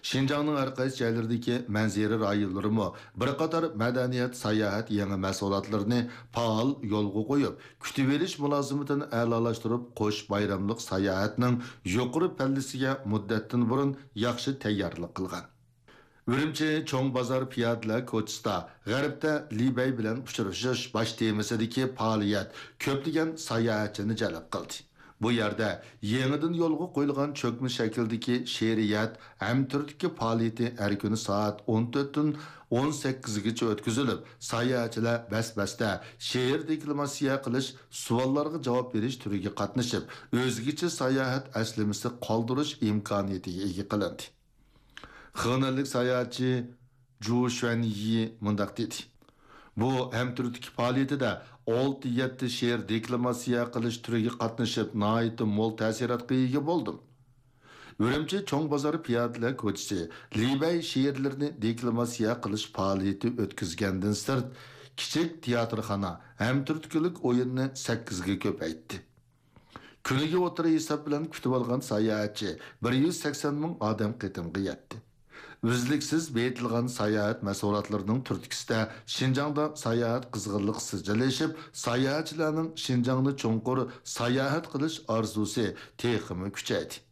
شىنجاڭنىڭ ھەر قايسى جايلىرىدىكى مەنزىرە رايونلىرىمۇ بىر قاتار مەدەنىيەت، ساياھەت يېڭى مەھسۇلاتلىرىنى پائال يولغا قويۇپ، كۈتۈۋېلىش مۇلازىمىتىنى ئەلالاشتۇرۇپ، قوش بايراملىق ساياھەتنىڭ يۇقىرى پەللىسىگە مۇددەتتىن بۇرۇن ياخشى تەييارلىق قىلغان. ئۈرۈمچى چوڭ بازار پىيادىلەر كوچىسىدا غەربتە لى بەي بىلەن ئۇچرىشىش باش تېمىسىدىكى پائالىيەت كۆپلىگەن ساياھەتچىنى جەلپ قىلدى. بۇ يەردە يېڭىدىن يولغا قويۇلغان چۆكمە شەكىلدىكى شېئىرىيەت ھەمتۈرتكە پائالىيىتى ھەر كۈنى سائەت ئون تۆتتىن ئون سەككىزگىچە ئۆتكۈزۈلۈپ، ساياھەتچىلەر بەس-بەستە شېئىر دېكلاماتسىيە قىلىش، سوئاللارغا جاۋاب بېرىش تۈرىگە قاتنىشىپ، ئۆزگىچە ساياھەت ئەسلىمىسى قالدۇرۇش ئىمكانىيىتىگە ئىگە قىلىندى. خېنەنلىك ساياھەتچى جۇ شۈەنيى مۇنداق دېدى: بۇ ھەمتۈرتكە پائالىيىتىدە ئالتە-يەتتە شېئىر دېكلاماتسىيە قىلىش تۈرىگە قاتنىشىپ، ناھايىتى مول تەسىراتقا ئىگە بولدۇم. ئۈرۈمچى چوڭ بازار پىيادىلەر كوچىسى لى بەي شېئىرلىرىنى دېكلاماتسىيە قىلىش پائالىيىتى ئۆتكۈزگەندىن سىرت، كىچىك تىياتىرخانا ھەمتۈرتكىلىك ئويۇننى سەككىزگە كۆپەيتتى. كۈنىگە ئوتتۇرا ھېساب بىلەن كۈتۈۋالغان ساياھەتچى بىر يۈز سەكسەن مىڭ ئادەم قېتىمغا يەتتى. ئۈزلۈكسىز بېيىتىلغان ساياھەت مەھسۇلاتلىرىنىڭ تۈرتكىسىدە شىنجاڭدا ساياھەت قىزغىنلىقى سىجىللىشىپ، ساياھەتچىلەرنىڭ شىنجاڭنى چوڭقۇر ساياھەت قىلىش ئارزۇسى تېخىمۇ كۈچەيدى.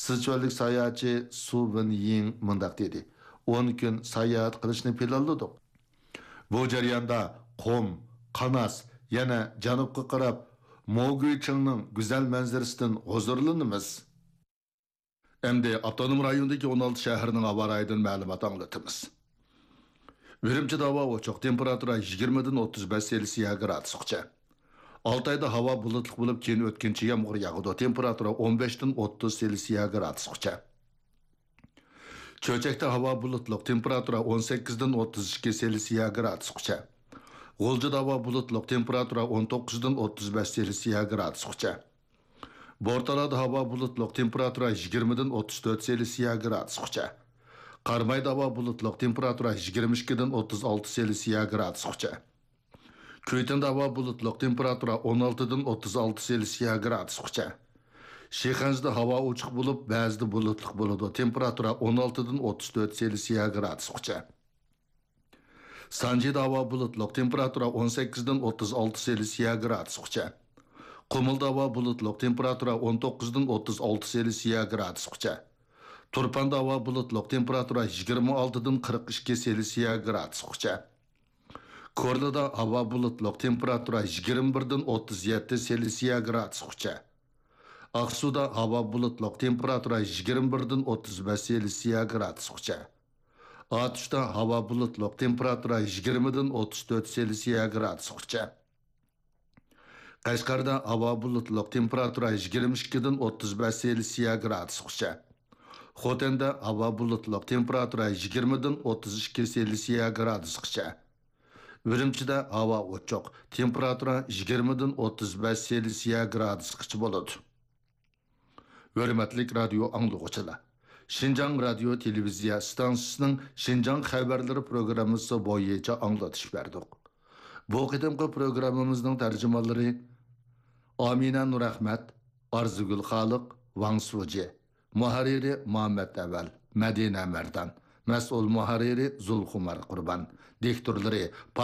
سىچۈەنلىك ساياھەتچى سۇ ۋېنيىڭ مۇنداق دېدى: ئون كۈن ساياھەت قىلىشنى پىلانلىدۇق. بۇ جەرياندا قۇم، قاناس، يەنە جەنۇبقا قاراپ موگۈيچىڭنىڭ گۈزەل مەنزىرىسىدىن ھۇزۇرلىنىمىز. ئەمدى ئاپتونوم رايوندىكى ئون ئالتە شەھەرنىڭ ھاۋا رايىدىن مەلۇمات ئاڭلىتىمىز. ئۈرۈمچىدە ھاۋا ئوچۇق، تېمپېراتۇرا يىگىرمىدىن ئوتتۇز بەش سېلسىيە گرادۇسقىچە. ئالتايدا ھاۋا بۇلۇتلۇق بولۇپ، كېيىن ئۆتكۈنچى يامغۇر ياغىدۇ، تېمپېراتۇرا ئون بەشتىن ئوتتۇز سېلسىيە گرادۇسقىچە. چۆچەكتە ھاۋا بۇلۇتلۇق، تېمپېراتۇرا ئون سەككىزدىن ئوتتۇز ئىككى سېلسىيە گرادۇسقىچە. غۇلجىدا ھاۋا بۇلۇتلۇق، تېمپېراتۇرا ئون توققۇزدىن ئوتتۇز بەش سېلسىيە گرادۇسقىچە. بورتالادا ھاۋا بۇلۇتلۇق، تېمپېراتۇرا يىگىرمىدىن ئوتتۇز تۆت سېلسىيە گرادۇسقىچە. قارامايدا ھاۋا بۇلۇتلۇق، تېمپېراتۇرا يىگىرمە ئىككىدىن ئوتتۇز ئالتە سېلسىيە گرادۇسقىچە. كۈيتۇندا ھاۋا بۇلۇتلۇق، تېمپېراتۇرا ئون ئالتىدىن ئوتتۇز ئالتە سېلسىيە گرادۇسقىچە. شىخەنزىدە ھاۋا ئوچۇق بولۇپ، بەزىدە بۇلۇتلۇق بولىدۇ، تېمپېراتۇرا ئون ئالتىدىن ئوتتۇز تۆت سېلسىيە گرادۇسقىچە. سانجىدا ھاۋا بۇلۇتلۇق، تېمپېراتۇرا ئون سەككىزدىن ئوتتۇز ئالتە سېلسىيە گرادۇسقىچە. قۇمۇلدا ھاۋا بۇلۇتلۇق، تېمپېراتۇرا ئون توققۇزدىن ئوتتۇز ئالتە سېلسىيە گرادۇسقىچە. تۇرپاندا ھاۋا بۇلۇتلۇق، تېمپېراتۇرا يىگىرمە ئالتىدىن قىرىق ئىككى سېلسىيە گرادۇسقىچە. كورلىدا ھاۋا بۇلۇتلۇق، تېمپېراتۇرا يىگىرمە بىردىن ئوتتۇز يەتتە سېلسىيە گرادۇسقىچە. ئاقسۇدا ھاۋا بۇلۇتلۇق، تېمپېراتۇرا يىگىرمە بىردىن ئوتتۇز بەش سېلسىيە گرادۇسقىچە. ئاتۇشتا ھاۋا بۇلۇتلۇق، تېمپېراتۇرا يىگىرمىدىن ئوتتۇز تۆت سېلسىيە گرادۇسقىچە. قەشقەردە ھاۋا بۇلۇتلۇق، تېمپېراتۇرا يىگىرمە ئىككىدىن ئوتتۇز بەش سېلسىيە گرادۇسقىچە. خوتەندە ھاۋا بۇلۇتلۇق، تېمپېراتۇرا يىگىرمىدىن ئوتتۇز ئىككى سېلسىيە گرادۇسقىچە. ئۈرۈمچىدە ھاۋا ئوچۇق، تېمپېراتۇرا يىگىرمىدىن ئوتتۇز بەش سېلسىيە گرادۇسقىچە بولىدۇ. ھۆرمەتلىك رادىيو ئاڭلىغۇچىلار! شىنجاڭ رادىيو تېلېۋىزىيە ئىستانسىسىنىڭ شىنجاڭ خەۋەرلىرى پروگراممىسى بويىچە ئاڭلىتىش بەردۇق. بۇ قېتىمقى پروگراممىمىزنىڭ تەرجىمانلىرى ئامىنە نۇرئەخمەت، ئارزۇگۈل خالىق، ۋاڭ سۇجى. مۇھەررىرى مۇھەممەت ئەۋەل، مەدىنە مەردان. مەسئۇل مۇھەررىرى زۇلخۇمار قۇربان. دىكتورلىرى